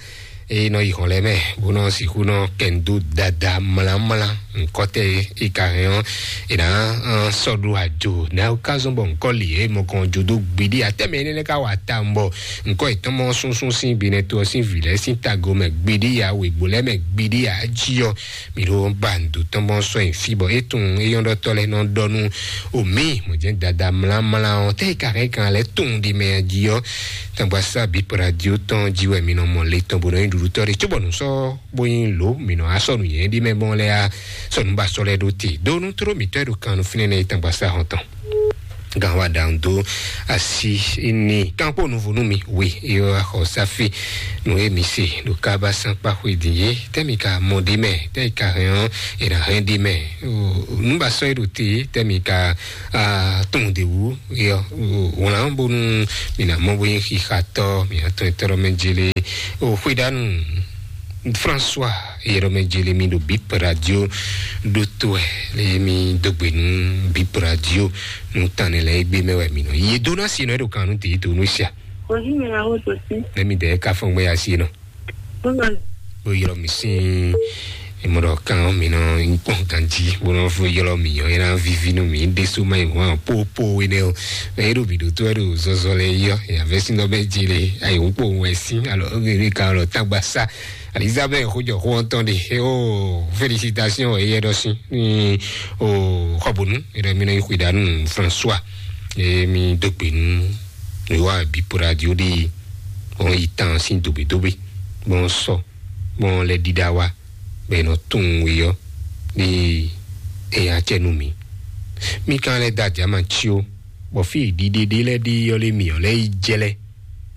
Eye nɔ yi hɔn lɛ mɛ bó nɔ sixú nɔ kɛndo dada mlamla nkɔtɛ. Ika hɛn ɔ ena sɔɖu adzo na ka zɔn bɔ nkɔ li e mɔ kɔn jo do gbidi atɛmɛ ne ka wa ta mbɔ nkɔ etɔn mɔ sunsun sin binɛ to sin vi lɛ sin tago mɛ gbidi ya wegbo lɛ mɛ gbidi ya dzi ɔ. Mi ɖo ba ndo tɔn bɔ sɔ yin fi bɔ etun eyɔn ɖɔ tɔ lɛ nɔ ɖɔ nu omi mɔ jɛ dada mlamla ɔ tɛ ka hɛn kan lɛ tun di mɛ dzi ɔ. Tangba sa bi radio tɔn dzi wɛ mi nɔ mɔ le tɔn bo nɔ yin ɖuɖu tɔ de tso bɔ nu sɔ bo yin lo mi nɔ asɔ nu yɛn di mɛ bɔ lɛ a sɔ nu ba sɔ lɛ ɖo te do nu tro mi tɔ ɖo kan nu finɛ nɛ tangba sa hɔn tɔn. Gan wa ɖaŋ dó asi ní kanpo nuvo nú mi we yɔ axɔ safi nú emi se ɖo kaba sankpa xwe din yé tɛmi ka mɔ ɖe mɛ tɛ ka hɛn ɔ́ e na hɛn ɖe mɛ. Nubasɔ e ɖo te tɛmi ka tɔn de wu yɔ wlan bonu mi na mɔ bo nyi xixatɔ mi atɔ etɔ ɖɔ mɛ jele o xwe ɖanu. François Yɛrɛmɛjele mi ɖo Bip Radio ɖo to wɛ le mi dó gbe nú Bip Radio nú tan ne lɛ egbe mɛ wɛ mi nɔ ye dó ná si nɔ e ɖo kan nú tèyí to nú sia. Ojú mi ra ó tó sí. Ne mi dɛ ka fɔn gbɛ ya si nɔ. Bó ma. Bó yɔrɔ mi sin emɔ ɖɔ kan mi nɔ nkpɔn ganji bó nɔ fún yɔrɔ mi yɔ yɛrɛ vivi nú mi ɖe so ma yi hɔn popo wé nɛ o. Mɛ e ɖo mi ɖo tó wɛ ɖo zɔzɔ lɛ yɔ yàvɛ sin nɔ bɛ jele ayi wò kpo wɛ sin alɔ ɔgɛ mi ka lɔ tagba sa. Elizabeth xojɔ xo ɔntɔn de o félicitation e yɛ ɖɔ si ni o xɔbonu e ɖɔ mi nɔ yi xwi ɖanu François e mi dó gbe nu e wa bi po radio de ɔn yi tan sin dogbe dogbe bɔn sɔ bɔn lɛ ɖiɖa wa bɛ nɔ tun we yɔ de e ya cɛ nu mi mi kan lɛ da jama tsi o bɔ fi ɖiɖe ɖe lɛ ɖe yɔ lɛ mi yɔ lɛ yi jɛ lɛ.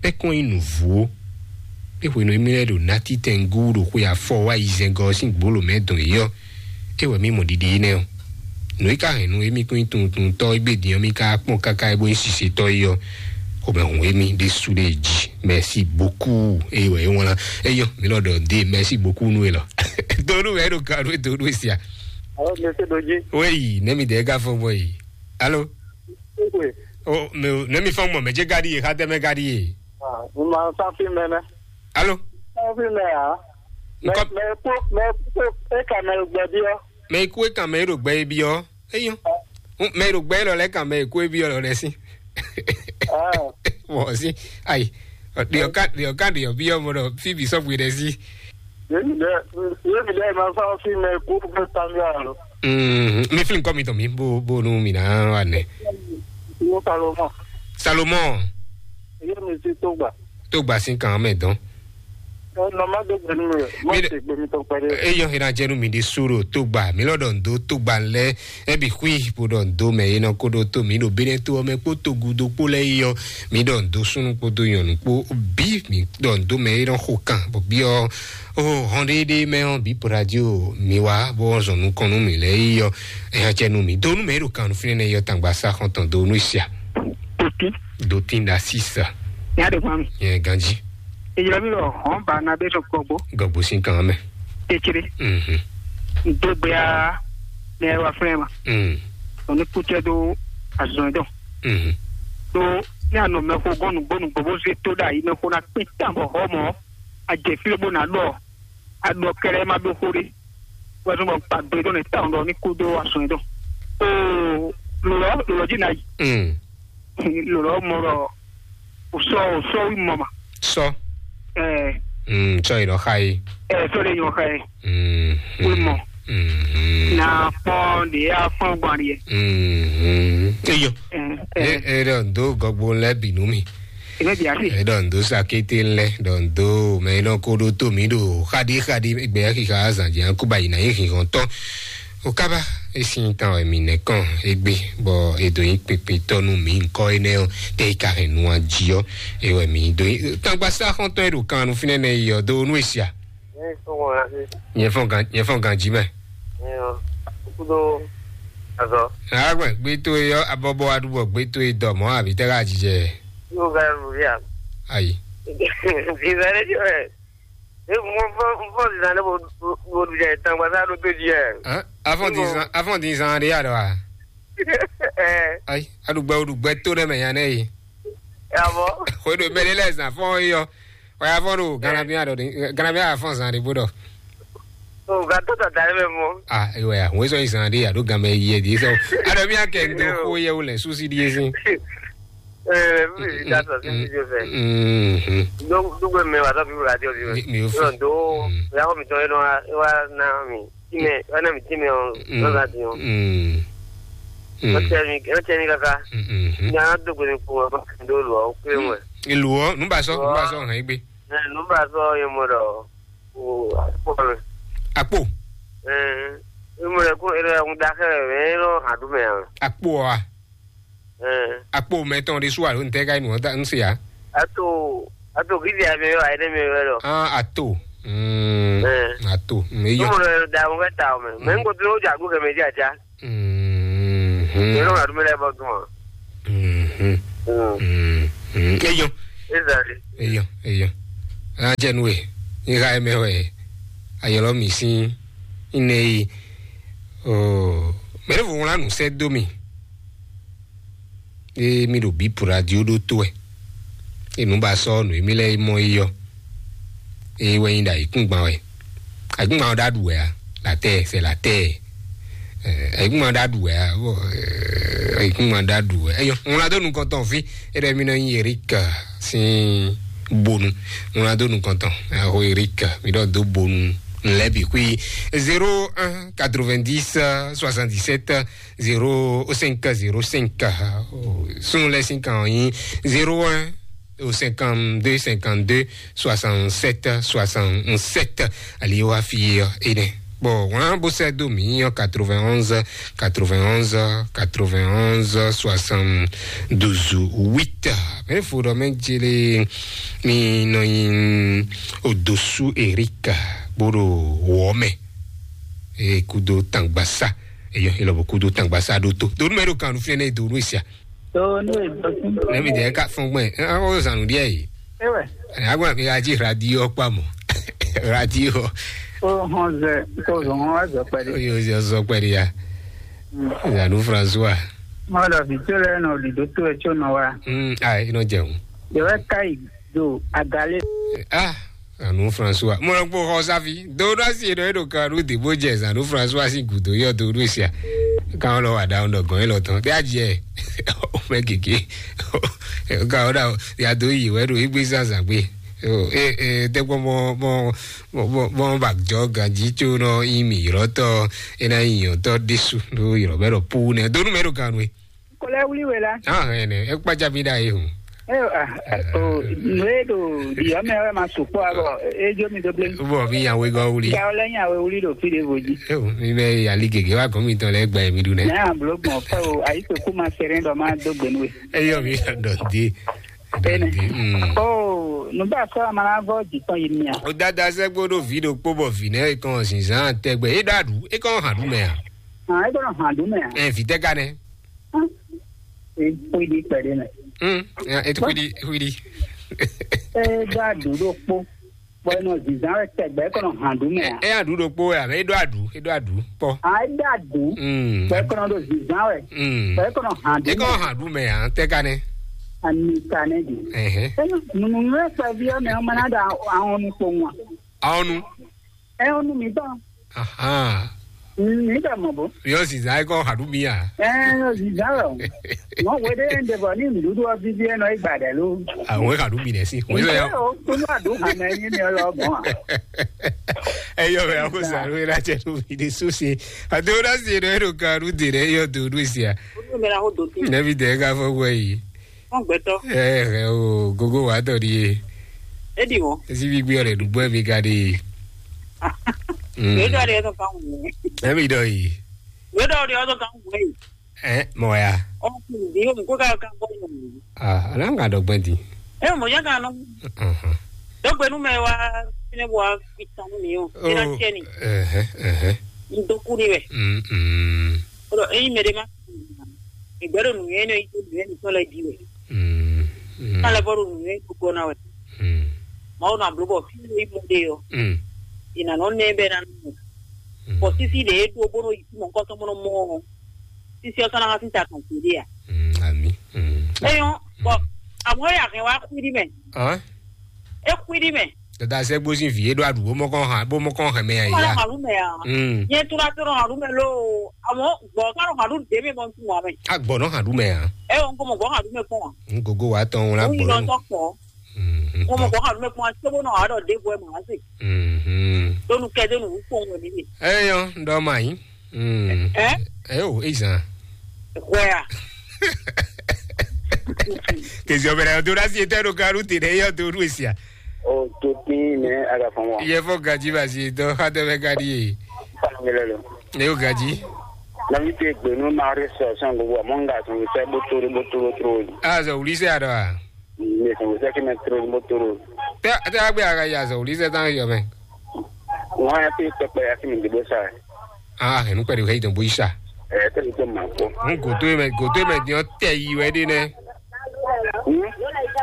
É kɔn nyi nǔvú ó. É hwenu émí lɛ́ɛ ɖo ná títɛngú ɖo xwe afɔ wá yi zɛngɔ ɔ́ sín gbǒlǒ mɛ dɔn yě ɔ́, é wɛ mí mɔ ɖiɖe énɛ́ ɔ́. Nǔ e ka hɛn nú émí kún nyí tunwuntunwuntɔ́ égbé din ɔ́, mí ka kpɔ́n káká é bó nyí sisetɔ́ é ɔ́, xomɛ hun émí ɖésú ɖé jí. Merci beaucoup. É wɛ é wlán. É nyɔ́, mí lɔ ɖɔ dé merci beaucoup nú é lɔ. Donu wɛ é ɖo gado é donu é sia. Alo, mɛ se ɖo jí. Wéyi, nɛ́ mi dɛ é ka fɔ́n gbɔn yi. Alo. Ékwe. O, mɛ, nɛ́ mi fɔ́n gbɔn, mɛ jɛ gadi ye, xatɛ mɛ gadi ye. Ah, mo máa ń sá fíìmù ẹ nẹ. Alo. Sá fíìmù ẹ á. Mẹ Nǹkan mẹ kú mẹ kú é kà mẹ gbẹ bí ọ. Mɛ ikú é kan mɛ é ɖo gbɛ é byɔ́. Eyɔ́. Mɛ é ɖo gbɛ é lɔ lɛ́ kan mɛ ikú é byɔ́ lɔ lɛ́ sí. Ah. Mɔ sí. Ayi. Ɖiɔ ká ɖiɔ ká ɖiɔ byɔ́ mɔ ɖɔ fí bǐ sɔ́ bwi ɖɛ sí. Yémi lɛ yémi lɛ máa sá fíìmù ẹ kú fẹ́ tàbí àrò. Mm, mi fi nǹkan mi tàn mí bó bó nu mi náà wà nẹ. Mo Salomon. Salomon. Yémi sí tó gbà. Tó gbà sí kan mẹ́ dán. Ẹ nọ má dé gbẹnu rẹ. Má Mi- ṣe gbẹmí tó pẹ̀lú. Eyɔ hena jẹnu mi di suro tó gbà mí lọ́dọ̀ ń dó tó gbà lẹ́ ẹbí hui bó dọ̀ ń dó mẹ́ iná kó dó tó mí ɖo bínú tó ọmọ kpó tó gudo kpó lẹ́ yíyọ mí dọ̀ ń dó súnú kpó dó yọ̀nù kpó bí mí dọ̀ ń dó mẹ́ iná xo kan bó bí ọ ó hɔn ɖéɖé mẹ́ ɔ́ bí radio mi wá bó zɔn nukɔn nú mi lẹ́ yíyọ ẹ̀yà jẹnu mi dó nú mẹ́ ɖo kan nú fínɛ́ yọ tàgbà sá xɔntɔn dó nú ìsíà. Tòkí. Dòtín da sísà. Ní àdéhùn àmì. Yẹn ganjí. Ìyẹn mi lọ hàn bá na bẹ́ẹ̀ sọ gbogbo. Gọ̀gbó sí kan mẹ́. Kékeré. Mhm. Ìdógbéá ní ẹwà fúnra ẹ̀ mà. Mm. Òní kútẹ́ dó àzùn ẹ̀ dán. Mhm. Tó ní àná mẹ́kó gọ́nù gbónú gbogbo ṣe tó dà yìí mẹ́kó ná pín tàbọ̀ họ́ mọ́. Àjẹfílẹ̀ bó nà lọ. Àdó kẹrẹ má dó xó dé. Wọ́n tún bọ̀ pàgbé tó ní táwọn lọ ní kúdó àzùn ẹ̀ dán. Ó lọ́ọ́ lọ́ọ́ jìnnà yìí. Mm. Lolo moro usɔ usɔ wi mɔ ma. Sɔ. Eh. Mm, sɔ yi dɔ xa yi. Eh, sɔ de yɔ xa yi. Mm. Wi mɔ. Mm. Na kpɔn de ya fɔn gban de. Mm. Eyo. Eh, E eh. E dɔ do gɔgbo lɛ binu mi. Ebe bi ati. E dɔ do sakete lɛ dɔ do mɛ e dɔ ko do to mi do xadi xadi gbɛ xixa azan jɛ kuba yi na yi xixɔn tɔ. O kaba e sin tan wɛ mi nɛ kɔn egbe bɔ e do nyi kpekpe tɔ nu mi nkɔ enɛ ɔ te yi ka hɛn nu aji ɔ e wɛ mi do nyi tangba sa xɔntɔn e do kan nu finɛ nɛ yi ɔ do nu esia. Nyɛ fɔn gan nyɛ fɔn gan ji mɛ. Kudo azɔ. Agbɛ gbe to e yɔ abɔbɔ adubɔ gbe to e dɔ mɔ abi tɛ ka jijɛ. Yóò ga lu ya. Ayi. Bizarre jọ ẹ. E mo fọ mo fọ sisan ne mo mo mo jẹ tangba sa do to ji ẹ. Afɔn din zan afɔn din zan de ya dɔ wa. Ẹ. Ayi adugbɛ odugbɛ to ne mɛ yan ne yi. Yabɔ. Xwe do mɛ de lɛ zan fɔn yi yɔ. Wa ya fɔn do ganabiya dɔ de ganabiya ya fɔn zan de bo dɔ. O ga to tata ne mɛ mɔ. Ah ewa ya wo sɔ yi zan de ya do gamɛ yi yɛ de sɔ. Adɔ mi akɛ ndo ko yɛ wo lɛ susi di ye sin. Ee, mi da sɔ sí fídíò fɛ. Dúgbò mi wà sọ́bí wúrà àti ọ̀bí rẹ̀. Mi ò fi. Yóò dó ìyàwó mi tán yóò wá ná mi. Tí mi wá ná mi tí mi ọ̀ lọ́la ti yàn. Wọ́n tẹ mi wọ́n tẹ mi kaka. Ní a dógbò mi kú wọn bá kí n dó lù ọ́ pé wọn. Ìlú ọ nùbà sọ nùbà sọ hàn igbe. Nùbà sọ yẹn mọ̀ dọ̀ o àpò rẹ̀. Àpò. Ẹ̀ ẹ̀ mọ̀ rẹ̀ kó ẹ̀rọ ẹ̀ ń dakẹ́ rẹ̀ ẹ̀ ń lọ àdúmẹ̀ yàn. Àpò wa. Akpo mɛtɔn ɖé su alo ntɛ ka yi nù ɔ́ ta n se ya. Ato, ato gidi ame yɔ ayé mi yɔ lɔ. Ah, ato. Mm, Ɛɛ. Ato. Mm, eyɔ. Mo lɔ da mo ka ta o mɛ. Mɛ n ko dúró ja gúkɛ mɛ ja ja. Mm. Yɔrɔ ka dúró lɛ bɔ dùn. Mm. Mm. Mm. Eyɔ. Ezali. Eyɔ, eyɔ. Ajɛ nu e. Ni ka ye mɛ wɛ. Ayɔlɔ mi sin. Ine yi. Oh, mɛ ne vo wla nu sɛ do mi. Ée mì ɖo bǐ radio ɖó tó wɛ. Ée nǔ ba sɔ́ nǔ e mì lɛ́ mɔ é yɔ. Ée wɛ nyí ɖo ayǐkúngban wɛ. Ayǐkúngban ɔ́ ɖo aɖu wɛ a? Latɛ, c'est latɛ. Ayǐkúngban ɖo aɖu wɛ a? Ayǐkúngban ɖo aɖu wɛ. Eyɔ, ŋlá dó nukɔn tɔn fí. É ɖɔ mì nɔ nyí Eric sín bonu. Ŋlá dó nukɔn tɔn. Ɛho Eric, mi ɖɔ dó bonu. Lɛbi kui. Zéro un quatre-vingt-dix soixante-dix-sept zéro cinq zéro cinq. Sun lɛ sin kan ɔ́ nyí zéro un cinquante-deux cinquante-deux soixante-sept soixante-sept. Ali wa fi ɔ ene. Bon, wọn bó sɛ dó mi ɔ quatre-vingt-onze quatre-vingt-onze quatre-vingt-onze soixante-douze huit. Mɛ fo ɖɔ mɛ jele mi nɔ nyi odosu Erika bó ɖo wɔ mɛ. E kudo tangbasa. Eyɔ, e lɔ bo kudo tangbasa ɖo to. Donu mɛ ɖo kan nu fínɛ ne donu esia. Donu e dɔkun. Ne mi de ka fɔn gbɛ. An o zanu diɛ yi. Ewe. Agba mi aji radio kpa mo. Radio. O hɔn zɛ, ko zɔn hɔn wa zɔ pɛdi. Oyo zɔ zɔ pɛdi ya. Zanu François. Mɔdɔ vi tso lɛ nɔ ɖi dó tó ɛ tso nɔ wa. Mm, ai, inɔ jẹun. Yɛwɛ kai do agale. Ah, Zanu François. Mo lɔ kpó xɔ sáfi. Do ɖo asi ɖo eɖo kan ɖo dìbò jɛ Zanu François si gudo yɔ do ɖo sia. Kan lɔ wa da ɖɔ gɔn elɔ tɔn. Tɛ adzi ɛ. O mɛ gege. Kan o da ya do yi wɛ ɖo igbe zazan gbe. O e e tɛ kpɔ mɔ mɔ mɔ mɔ mɔ ba jɔ ganji tso nɔ yi mi yɔrɔtɔ e na yi yɔtɔ ɖesu ɖo yɔrɔ bɛ ɖɔ pu nɛ do nu mɛ ɖo kan nue. Kɔlɛ wuli wɛ la. Ah, ɛnɛ, e kpa jabi da ye hun. Ayo, ah, o, nue do di ɔmɛ wɛ ma sukpɔ abɔ, e jo mi do ble. Bɔ mi yan wegɔ wuli. Ga wala nya we wuli do fi de voji. Ewu, mi bɛ yali gege wa gɔmi tɔn lɛ gba mi du nɛ. Na blo gbɔn fɛ o, ayi ko kuma sere dɔ ma do gbenu we. Eyɔ mi dɔ de. Ene. Mm. O, nu ba sɔ amana vɔ jitɔn yi mia. O dada sɛ gbodo vi do kpo bɔ vi nɛ kan zinzan tɛgbɛ. E da du, e kan ha du mɛ a? Ah, e kan ha du mɛ a? Ɛ vi tɛ ka nɛ. Hã? E xwidi kpɛɖé mɛ. Mm, ya, e xwidi, xwidi. E do aɖu ɖo kpó. Bɔ e nɔ zizan wɛ tɛgbɛ, e kɔnɔ hàn ɖu mɛ a? E aɖu ɖo kpó wɛ, e do aɖu, e do aɖu kpɔ. A e do aɖu. Mm. Bɔ e kɔnɔ ɖo zizan wɛ. Mm. Bɔ e kɔnɔ hàn ɖu. E kɔnɔ hàn ɖu mɛ a, tɛ ka nɛ. Ami ka nɛ di. Ɛhɛn. Nunu yɛ kpɛvi ɔ mɛ ɔmɛ na da ahɔn nu kpowun a? Ahɔn nu. Ɛ ɔnu mi tɔn. Ahan. Mi bɛ mɔ bo. Yɔ sisan e kɔ haɖu mi a? Ɛ yɔ sisan wɛ o. Mɔ wede yɛn de bɔ ni nuɖuɖu ɔ bibi ɛ nɔ yi gba ɖɛ lo. Àwọn haɖu mi nɛ si. Wọ́n yọ ya. O kunu adu hame yi ni ɔlɔ gbɔn a. Eyɔ bɛ ako sa ló yẹra jẹ ló mi de so se. Àti wọ́n dá sí ẹ̀rọ ẹ̀rọ kan ló dé rẹ̀ yọ tó ló sí a. Olu mi la ko do ti. Nẹ́bí tẹ̀ ká fọ́ wẹ̀ yìí. Wọn gbẹtọ. Ẹ ẹ o gogo wa tọ di ye. Edi wọn. Esi bi gbé ọ̀rẹ́ dùgbò ẹ̀ mi ga de. Yóò dọ̀ de yóò tó kan wù mí. Ẹ mi dọ̀ yìí. Yóò dọ̀ de yóò tó kan wù mí. Ẹ mọ̀ ya. Ọkùnrin bí yóò mú kó ká ká bọ́ yóò mú. Ah, ala ń ka dọ̀ gbẹ́ di. Ẹ mọ̀ yá kan nọ. Dɔgbe nu mɛ wa ne wa fi tan mi o. Ina tiɛ ni. Ẹhẹ, ẹhẹ. N do ku ni wɛ. Mm, mm. O dɔ eyi mɛ de ma. Ìgbẹ́ ɖo nǔnywɛ́ nɔ yi dó nǔnywɛ́ mǐtɔn lɛ́ɛ jí wɛ. Mm, mm. Ká lɛ́ vɔ ɖo nǔnywɛ́ gbogbo ná wɛ. Mm. Mawu nɔ abló bɔ fí e mɔ ɖe ɔ́, mm, è nǎ nɔ nɛ bɛ́ ná nú mɛ. Mm. Bɔ sísí ɖě é ɖó bó nɔ yi sí mɔ̌hunkɔtɔn bó nɔ mɔ ɔ́, sísí ɔ́ sɔ́ ná wá sín ta tɔn gbeɖé ǎ. Mm, ami. Mm. Eyɔn, bɔ àmọ́ é àhɛn wá xwíɖí mɛ. Hã? É xwíɖí mɛ. Dada sɛ gbósín vǐ é ɖó aɖǔ bó mɔ kɔn hàn bó mɔ kɔn hàn mɛ yà Kó má yá. Lọ hàn lú mɛ ǎ. Mm. Nyɛ tura tó nɔ hàn lú mɛ ló. Àmọ́ gbɔ̀n ká nɔ hàn lú dèmí mɔ tún wà mɛ. Agbɔ nɔ hàn ɖú mɛ hàn. Ɛ o, n ko mɔ gbɔn hàn lú mɛ kpɔn wa. N gogo wa tɔn wla N yi lɔ gbɔn. Tɔ kpɔ. Mm, N ko mɔ gbɔn hàn lú mɛ kpɔn wa. Sebo nɔ wà dɔ dé bɔ ɛ mɔ wá se. Mm. Donu kɛ donu wú kpɔn wɛ mi de. Eyɔ ndɔ ma yi. Mm. Ɛ? Ɛ o, ezan. Wɛ a. Kezi ɔbɛrɛ do na si etɛ do garu te ne yɔ do nu esia. O to tin ne a ka fɔn wa. Yɛ fɔ gaji ba si dɔ ha tɛ bɛ gadi ye. Fa mi lɛ lo. Ne o gaji. Nɔví ce gbenu Marie sɔ sɔn gbogbo amɔ nga sɔn sɛ botoro botoro toro. Azɔ wuli sɛ adɔ a? Ne sɔn sɛ kí mɛ toro botoro. Tɛ tɛ agbe aga ya azɔ wuli sɛ tan yɔ mɛ. Wọn ya pe pɛpɛ ya kí mi dìbò sa. Ah, hɛn nukpɛ de hɛ idɔn bo yi sa. Ɛ tɛ mi tó ma kpɔ. N goto mɛ goto mɛ diɔ tɛ yi wɛ de nɛ. Hmm?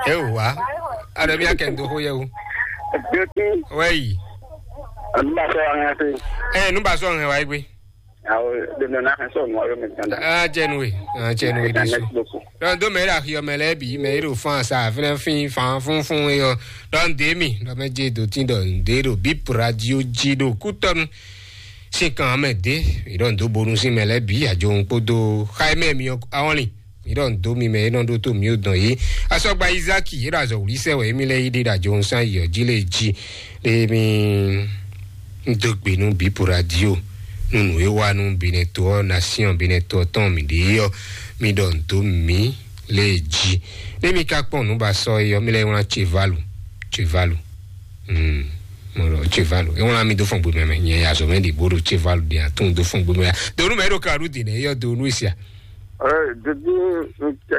E wa. Adɔ mi akɛ ndo ho yɛ o. Gbɛtu. Wɛ yi. Anu ba sɔ an ya se. Ɛ nu ba sɔ hɛn wa yi gbe. Awo, ɖe nɔ na xɛ sɔ nua yɔ mɛ tanda. Ah, jɛnu we. Ah, jɛnu we de su. Merci beaucoup. Donc do mɛ la hiɔ mɛ lɛ bi mɛ iro fan sa fɛnɛ fin fan fun fun yɔ. Donc de mi do mɛ je do tin do de do bip radio ji do kutɔnu. Sin kan mɛ de. Idɔn do bonu sin mɛ lɛ bi ajo n kpodo xaye mɛ mi awɔnli. Idɔn do mi mɛ idɔn do to mi o dɔn yi. Asɔgba Izaki idɔ azɔ wuli sɛ wɛ mi lɛ yi de ajo n san yi ɔ ji le ji. Le mi. N dó gbe nú Bípo Radio nú nǔ e wa nú Benɛto ɔ́, nasiɔn Benɛto ɔ́ tɔn mǐ ɖe é ɔ́, mi ɖɔ nǔ dó mǐ lě e jí. Nú mi ka kpɔ́n nǔ ba sɔ́ é ɔ́, mi lɛ́ wlán Cevalu. Cevalu. Hmm. Mo ɖɔ Cevalu. É wlán mi dó fɔn gbe mɛ mɛ. Nyɛ ya zɔ mɛ ɖi bó ɖo Cevalu ɖi atún dó fɔn gbe mɛ ya. Donu mɛ ɖo ka ɖu dǐnɛ é ɔ́ donu é sia. Ɛ didi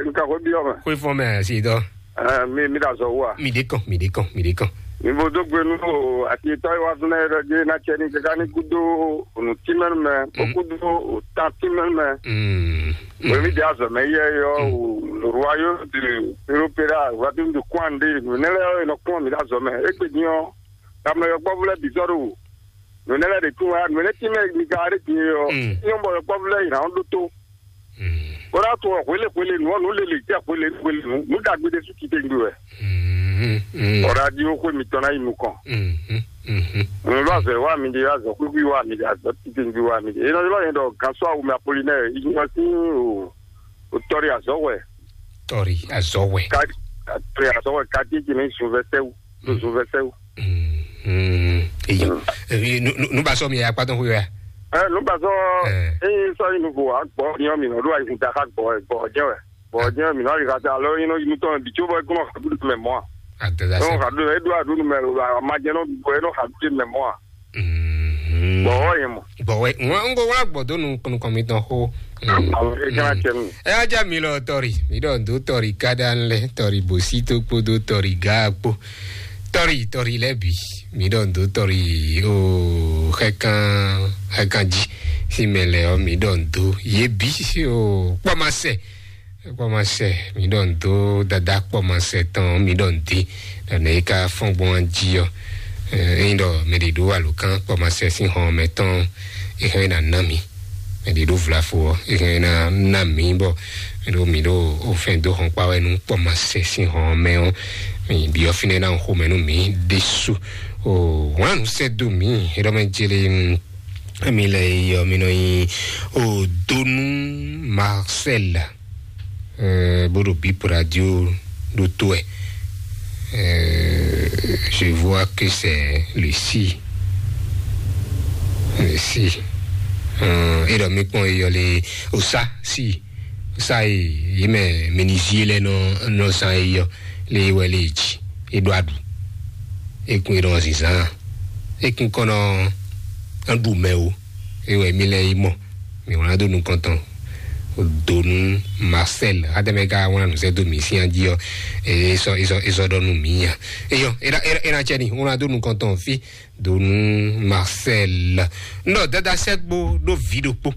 nkakɔ bi ɔmɛ. Xwe fɔn mɛ asi dɔ. Ɛ mi mi da zɔ wa. Mi de kɔn, mi de kɔn, mi de kɔn. Mi bo dó gbe nú o ati tɔ yi wa fúnɛ yɛ ɖe na cɛ ni kaka ní kúdó nǔtímɛnu mɛ, bó kúdó o tantímɛnu mɛ. Mm. Wemi de azɔ mɛ yɛ yɔ o lorwa yo de peropera wa de de kwan de nunɛ lɛ yɔ nɔ kpɔn mi da zɔ mɛ. Egbe ni ɔ kamɛ yɔ gbɔvu lɛ bizɔro nunɛ lɛ de tún wa nunɛ tí mɛ mi ka de din yɔ. Mm. Nyɔ bɔ yɔ gbɔvu lɛ yìí na ɖó tó. Mm. Bó ná to hwele hwele nǔ ɔ́, nǔ lele jɛ hwele hwele nǔ, nǔ ɖagbe ɖé sú titewungbe wɛ. Mm, mm. Bɔ radio xwe mitɔn ná yi nukɔn. Mm, mm, mm, mm. Nǔ lɔ azɔ wa mi ɖe, azɔ xwixwi wa mi ɖe, azɔ titewungbe wa mi ɖe. Enɔ ylɔ yẹn ɖɔ gansɔ awu mi Apolinɛ, inyɔ sín o, o tɔri azɔ wɛ. Tɔri azɔ wɛ. Ka tɔri azɔ wɛ kati ti mi sun vɛsɛwu, to sun vɛsɛwu. Eyo. Nu ba sɔ mi ya kpatɔ hu ya. Ɛ nu ba sɔ. Ee sɔ yi nuvo agbɔ ni ɔ mi nɔ ɖo ayi kun ta ka gbɔ gbɔ jɛ wɛ gbɔ jɛ mi nɔ ayi ka ta alɔ yi nɔ yi nutɔ bi tso bɔ e kɔnɔ ha du mɛ mɔ a. Adada sɛ. Nɔ ha du e do a du mɛ lo a ma jɛ nɔ bɔ e nɔ ha du mɛ mɔ a. Gbɔ wɔ yɛ mɔ. Gbɔ wɛ ŋɔ ŋgo wla gbɔ do nu nukɔn mi tɔn ho. Awɔ e kana cɛ nu. Ɛ aja mi lɔ tɔri mi dɔ do tɔri kada lɛ tɔri bosi to kpo do tɔri ga kpo. Tɔri tɔri lɛ bi mi dɔ do tɔri o xɛkan xɛkan ji si mɛ lɛ ɔ mi dɔ do ye bi o kpɔmasɛ kpɔmasɛ mi dɔ do dada kpɔmasɛ tɔn mi dɔ di dɔ ne ka fɔn gbɔn ji ɔ. Eyin dɔ mɛ de do alokan kpɔmasɛ si hɔn mɛ tɔn ehe na na mi mɛ de do vlafo ɔ ehe na na mi bɔ mi ɖo mi ɖo ofɛn dó xɔnkpa wɛ nú kpɔmasɛ sín hɔn mɛ ɔ́. Mi byɔ́ fínɛ́ ná xomɛ nú mi ɖésú. O wlán nǔ sɛ́ dó mi é ɖɔ mɛ jele. Mi lɛ yɔ mi nɔ nyi o donu Marcel. Bó ɖo bip radio ɖó tó ɛ. Je vois que c'est le si. Le si. É ɖɔ mi kpɔn eyɔ le osa si. Sa e yi mɛ menuisier lɛ nɔ nɔ zan e yɔ le yi wɛ le yi dzi e ɖo aɖu. E kun e nɔ zinzan e kun kɔ nɔ ɖu mɛ o. E wɛ mi lɛ yi mɔ mi wlán do nukɔntɔn donu Marcel adɛmɛ ka wlán nu sɛ do mi si dzi ɔ. E sɔ e sɔ e sɔ ɖɔ nu mi ya eyɔ e na e na cɛ ni wlán do nukɔntɔn fi donu Marcel. Nɔ dada sɛ gbo ɖo vi ɖokpo.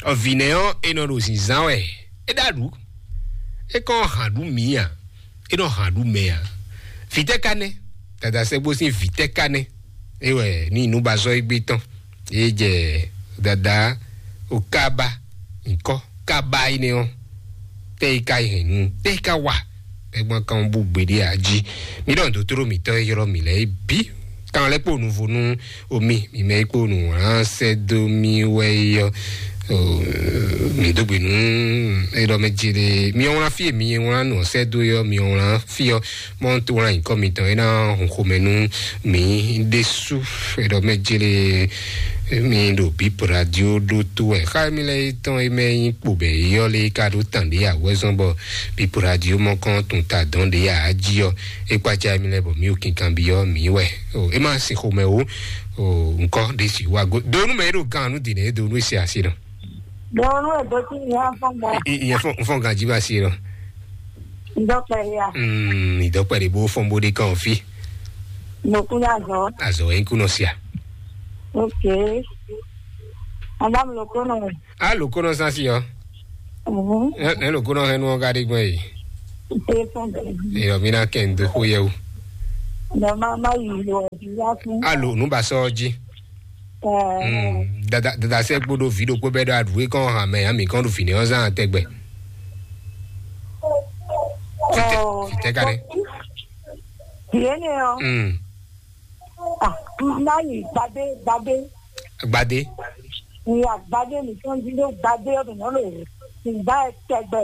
Ɔ vǐ nɛ ɔ́ e nɔ ɖo zinzan wɛ. E ɖo aɖu e kɔn hàn ɖu mǐ a? E nɔ hàn ɖu mɛ a? Vǐ tɛ́ ka nɛ́? Dada sɛ́gbó sín vǐ tɛ́ ka nɛ́? É wɛ ní nǔbazɔ́ égbé tɔn é jɛ dada o kaba nyǐkɔ kaba énɛ́ ɔ́. Tɛ́ é ka yi hɛn nú tɛ́ é ka wa? Tɛ́gbɔn kan bú gbeɖé a jí? Mi ɖɔ nǔdótóló mǐtɔn e ylɔ́ mǐ lɛ́ɛ é bǐ kan lɛ́ kpo nuvo nú omi mi mɛ e kpo nǔ wlán sɛ́ dó mì wɛ é ɔ́. Mi dó gbe nú eɖɔ mɛ jele mi wlán fí e mi wlán nǔ sɛ́ dó é ɔ́ mi wlán fí ɔ́. Mɔ tó wlán nyǐkɔ mitɔn é ná hun xomɛ nú mi ɖésú. Eɖɔ mɛ jele mi ɖo bip radio ɖó tó wɛ xa mi lɛ tɔn e mɛ nyí kpo bɛ yɔ lé ka ɖó tàn ɖé awɛzɔn bɔ bip radio mɔ kɔn tun ta dɔn ɖé a jí ɔ. E kpaca mi lɛ bɔ mi ò kinkan bi ɔ mi wɛ. O e ma sin xomɛ o. O nkɔ ɖe si wa go donu mɛ ɖo gan nu dine donu si asi nɔ. Dɔwɔnu e dó tí mi á fɔn gbɔ. Ìyẹn fún fún ganjí bá sí lọ. Dɔkítà ya. Ìdọ́pẹ́ de bó fún bó dé kàn fi. Mo kú ní àgọ́. Azɔ ẹ̀ ń kú nọ sí a. Ok. Madame Lokono. A Lokono sá sí ọ. Mhm. Ẹ Lokono hẹnu ọ̀gá dé gbọ́n yìí. Ìpè fún bẹ́ẹ̀. Èèyàn mi náà kẹ́ ń dó kó yẹ o. Lọ má má yìí lọ ẹ̀ bí wá fún. A lò nù bá sọ ọ jí. Dada dada sɛ kpo ɖo vi ɖokpó bɛ ɖo aɖu e kɔn hàn mɛ ami kɔn ɖo fini ɔ́ zan tɛgbɛ. Fitɛ ka ɖe. Viene ɔ. Mm. Ah, na yi gbadé gbadé. Gbadé. Ìyá gbadé nìkan jí ló gbadé ọdún náà lò. Ìgbà ẹ tẹgbẹ.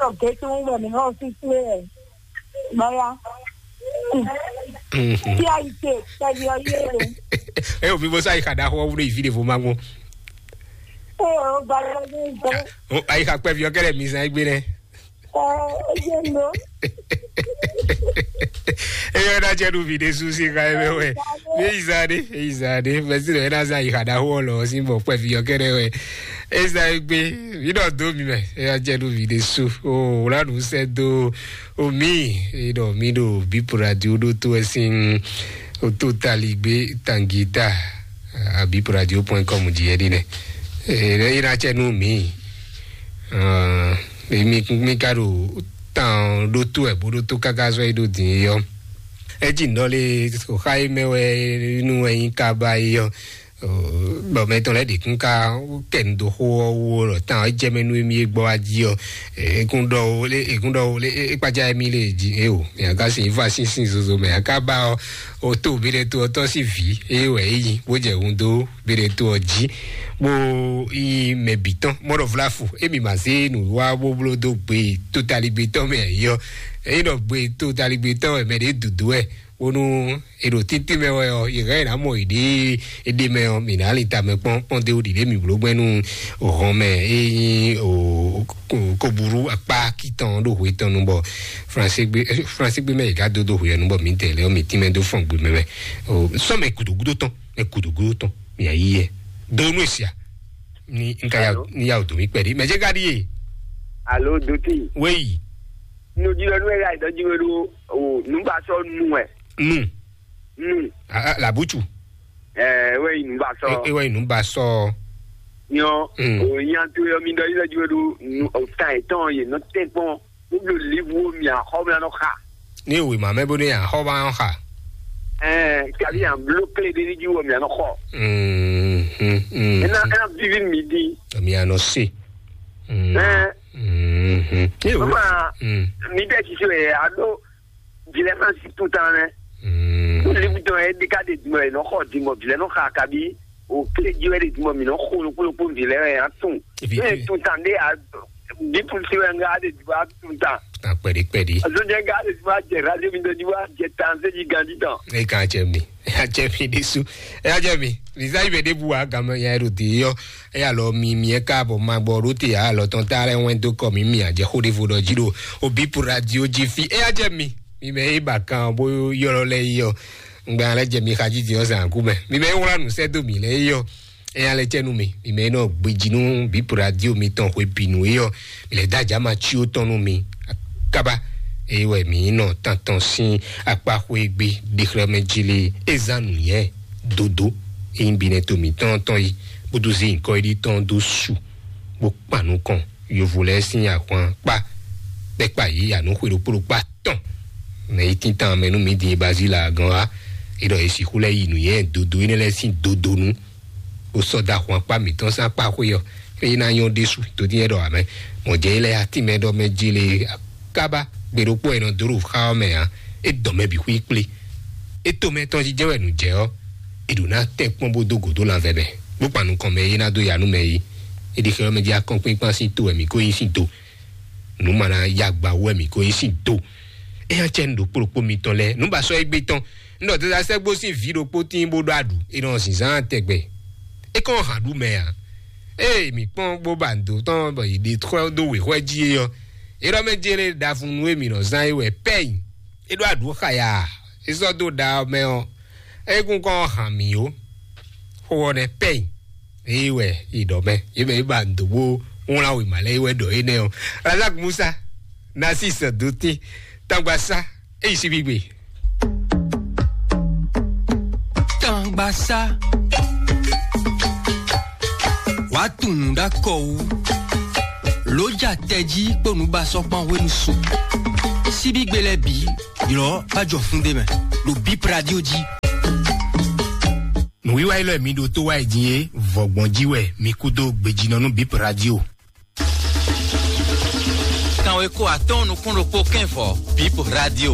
Ọ̀gẹ́ tó ń wẹ̀ mí náà sí sílé ẹ̀. Báyá. Tí a yìí ṣe pẹ̀lú ọyẹ́ rẹ̀. Ẹ ò fi bó sáyé kàdá xọ́ wúlò ìfí lè fò máa gbó. Ẹ ò gba lọ́dún ìgbẹ́. Ayé ká pẹ́ fi ọkẹ́lẹ̀ mi sàn gbé rẹ̀. Ẹ ẹ yẹ lọ. Eyɔ na jɛ nu vi ɖe su si xa yɛ mɛ wɛ. Mi yi zan ɖe, yi zan ɖe. Mɛsi ɖɔ ena zan yi xa ɖaxo ɔlɔ si bɔ kpɛ vi yɔ kɛɖɛ wɛ. Eza gbe mi ɖɔ do mi mɛ. Eyɔ jɛ nu vi ɖe su. O wla nu sɛ do. O mi e ɖɔ mi ɖo bi radio ɖo to ɛsin. O to tali gbe tangita. Abi radio point com di yɛ ɖi nɛ. E yi na cɛ nu mi. Emi mi ka ɖo tan ɖó tó ɛ bó ɖó tó káká zɔ yi ɖó din yɔ. Eji nɔ le xá yi mɛ wɛ nu wɛ nyi ka ba yi yɔ. Bɔ mɛ tɔn lɛ ɖi kún ká kɛ nu dó xó ɔ́ wú lɔ tán ɔ́ jɛ mɛ nú emi e gbɔ wá jí ɔ́. Ekún ɖɔ wo lé ekún ɖɔ wo lé ekpadza emi lé jí e o mɛ aka sin va sín sín zozo mɛ aka ba ɔ o tó bi ɖe tó ɔtɔ sí vi eye wɛ eyi bó jɛ hun dó bi ɖe tó ɔ jí. Bó yi mɛ bǐ tɔn mɔɖɔ vlafu emi ma zé nǔwiwa bó bló dó gbe totaligbetɔ́ mɛ yɔ. Eyi ɖɔ gbe totaligbetɔ́ wɛ mɛ ɖě dǔdú wɛ bónú è ɖo títí mɛ wɛ ɔ́, yě hɛn ná mɔ yěɖée éɖée mɛ ɔ́, mǐ ná lin tamɛ kpɔ́n kpɔ́n dé wú ɖiɖě mǐ bló gbɛ́ nú hɔn mɛ e nyí koburu akpá kitɔn ɖo hwe tɔn nu bɔ franségbé franségbé mɛ yě ká dó dó hwe ɔ́ nu bɔ mǐdɛɛ lɛ́ɛ ɔ́ mǐ tínmɛ dó fɔn gbe mɛ mɛ. Sɔ́ mɛ gǔdo gúdo tɔn mɛ gǔdo gúdo tɔn mǐ yí yɛ dó nú èsia ní n ka ya Alo? Ní ya wò dó mí kpɛɖí mɛ jẹ́ ká ɖíe. Alo, dotí. Wéyi. Nudílɔ nú ẹ yá ìdɔjú wé ɖó o nùbásɔ nù ẹ. Nu. Nù. Làbútù. Ẹ wé yìí nùbásɔ. Ewé inú bá sọ. Nyɔ Mm. O yan tó yọ mi dɔ yílẹ ju wé ɖó nu o tan ẹ tɔn yè nɔ tẹ kpɔn. Wúlò líbu wo mi àxɔ mi anɔ xa. Ní ìwé màmẹ́ bó ní àxɔ bá ń xa. Ẹ kàbí à ń bló clé dé ní ju wo mi anɔ xɔ. Mm, mm, mm. Ẹ ná ẹ ná bíbí mi dín. Èmi àná sè. Mm, Ẹ mm, mm. Ní ìwé. Mama Mm. Mi dẹ́ ti sè é àdó. Vilɛ ma si tout temps nɛ. Mm. Libu tɔn yɛ de ka de dimɔ yɛ nɔ xɔ dimɔ vilɛ nɔ xa kabi o kile ji wɛ de dimɔ mi nɔ xo lokpo lokpo vilɛ yɛ a tun. Ebi Ne tu- tout temps de a bi tu si wɛ nga de dimɔ a tout temps. Akpɛɖi kpɛɖi. Azo jɛ nga de dimɔ a jɛ radio mi de dimɔ a jɛ tan se ji gandi tɔn. E kan jɛ mi. E ya jɛ mi ɖesu. E ya jɛ mi. Visa yi bɛ de bu wa gamɛ ya ɖo de yɔ. Eya lɔ mi mi e ka bɔ ma gbɔ ɖo te ya lɔ tɔn ta lɛ wɛn dó kɔ mi mi a jɛ xó ɖevo ɖɔ jí ɖo obi pour radio jí fi eya jɛ mi mi mɛ e ba kan bó yɔlɔ lɛ yi ɔ ŋgbɛ alɛ jɛ mi xa jí di ɔ zan ku mɛ mi mɛ e wla nu sɛ do mi lɛ yi ɔ eya lɛ cɛ nu mi mi mɛ e nɔ gbeji nu bi pour radio mi tɔn xwe bi nu yi ɔ mi lɛ da ja ma tsi o tɔn nu mi kaba eye wɛ mi nɔ tantɔn sin akpa xwe gbe ɖexlɛmɛ jí le ezan nu yɛ dodo eyin bi nɛ to mi tɔn tɔn yi kpódó zé nyǐkɔ yi ɖi tɔn dó su bó kpan nukɔn yovo lɛ́ɛ sín ahwan kpá kpɛkpa yě ya nǔ xwe ɖokpó ɖokpá tɔn mɛ yi tíntan mɛ nú mi din Bazila gɔn wá é ɖɔ yě sixú lɛ́ yi nǔnywɛ́ dodo énɛ́ lɛ́ɛ sín dodonu bó sɔ́ dó ahwan kpá mǐtɔn sín akpá xwé ɔ́ é ná nyɔ́ ɖésú dodínyɛ ɖɔ amɛ mɔ̌ jɛ é lɛ́ɛ atínmɛ ɖɔ mɛ jélé kábá gbe ɖokpó e nɔ dó ɖo xá ɔ́ mɛ ǎ é dɔn mɛ bǐ xwí kplé é to mɛ tɔn jijɛ wɛ nǔ jɛ ɔ́ è ɖǒ ná tɛ kpɔ́n bó dó gǒ dó lanvɛ mɛ bó kpan nukɔn mɛ e ná dó ya nú mɛ é é ɖi xɛ ɔ́ mɛ jí akɔ́nkpínkpán sín to wɛ mǐ ko nyí sín do nǔ ma ná ya gba wɛ mǐ ko nyí sín do é nya cɛ nǔ ɖokpó ɖokpó mitɔn lɛ́ɛ nǔ ba sɔ́ égbé tɔn un ɖɔ dada sɛ́gbó sín vǐ ɖokpó tín bó ɖó aɖǔ é nɔ zǐnzán tɛgbɛ é kɔn hǎn ɖu mɛ ǎ ee mǐ kpɔ́n bó ba nǔ dó tɔn bɔ yě ɖe xwɛ dó wěxwɛ jí é ɔ́ é ɖɔ mɛ jélé ɖavu nú e mǐ nɔ zán é wɛ pɛ́ nyi é ɖó aɖǔ xaya é sɔ́ dó ɖa ɔ́ mɛ ɔ́ é kún kɔn hǎn mǐ ó xó ɔ́ nɛ́ pɛ́ nyi Eye wɛ yi ɖɔ mɛ, ye mɛ yi ba ndo bo wlán wěma lɛ yi wɛ ɖɔ énɛ́ ɔ́. Razak Musa, Narcisse Dotin, Tangbasa, eyi si gbigbe. Tangbasa. Wàá tunwun ɖó akɔ wú. Lǒ ja tɛjí kpó nǔbasɔ́ kpán hwenu su. Síbígbe lɛ́ɛ bǐ, ylɔ̌ bá jɔ fún ɖé mɛ, ɖo Bip Radio jí. Nǔwiwa élɔ́ e mi ɖo tó wá yi din é, vɔ̌gbɔn jí wɛ mi kú dó gbejínɔ nú Bip Radio. Kanweko atɔ́ɔ́n nukún ɖokpó kɛ́n vɔ̌, Bip Radio.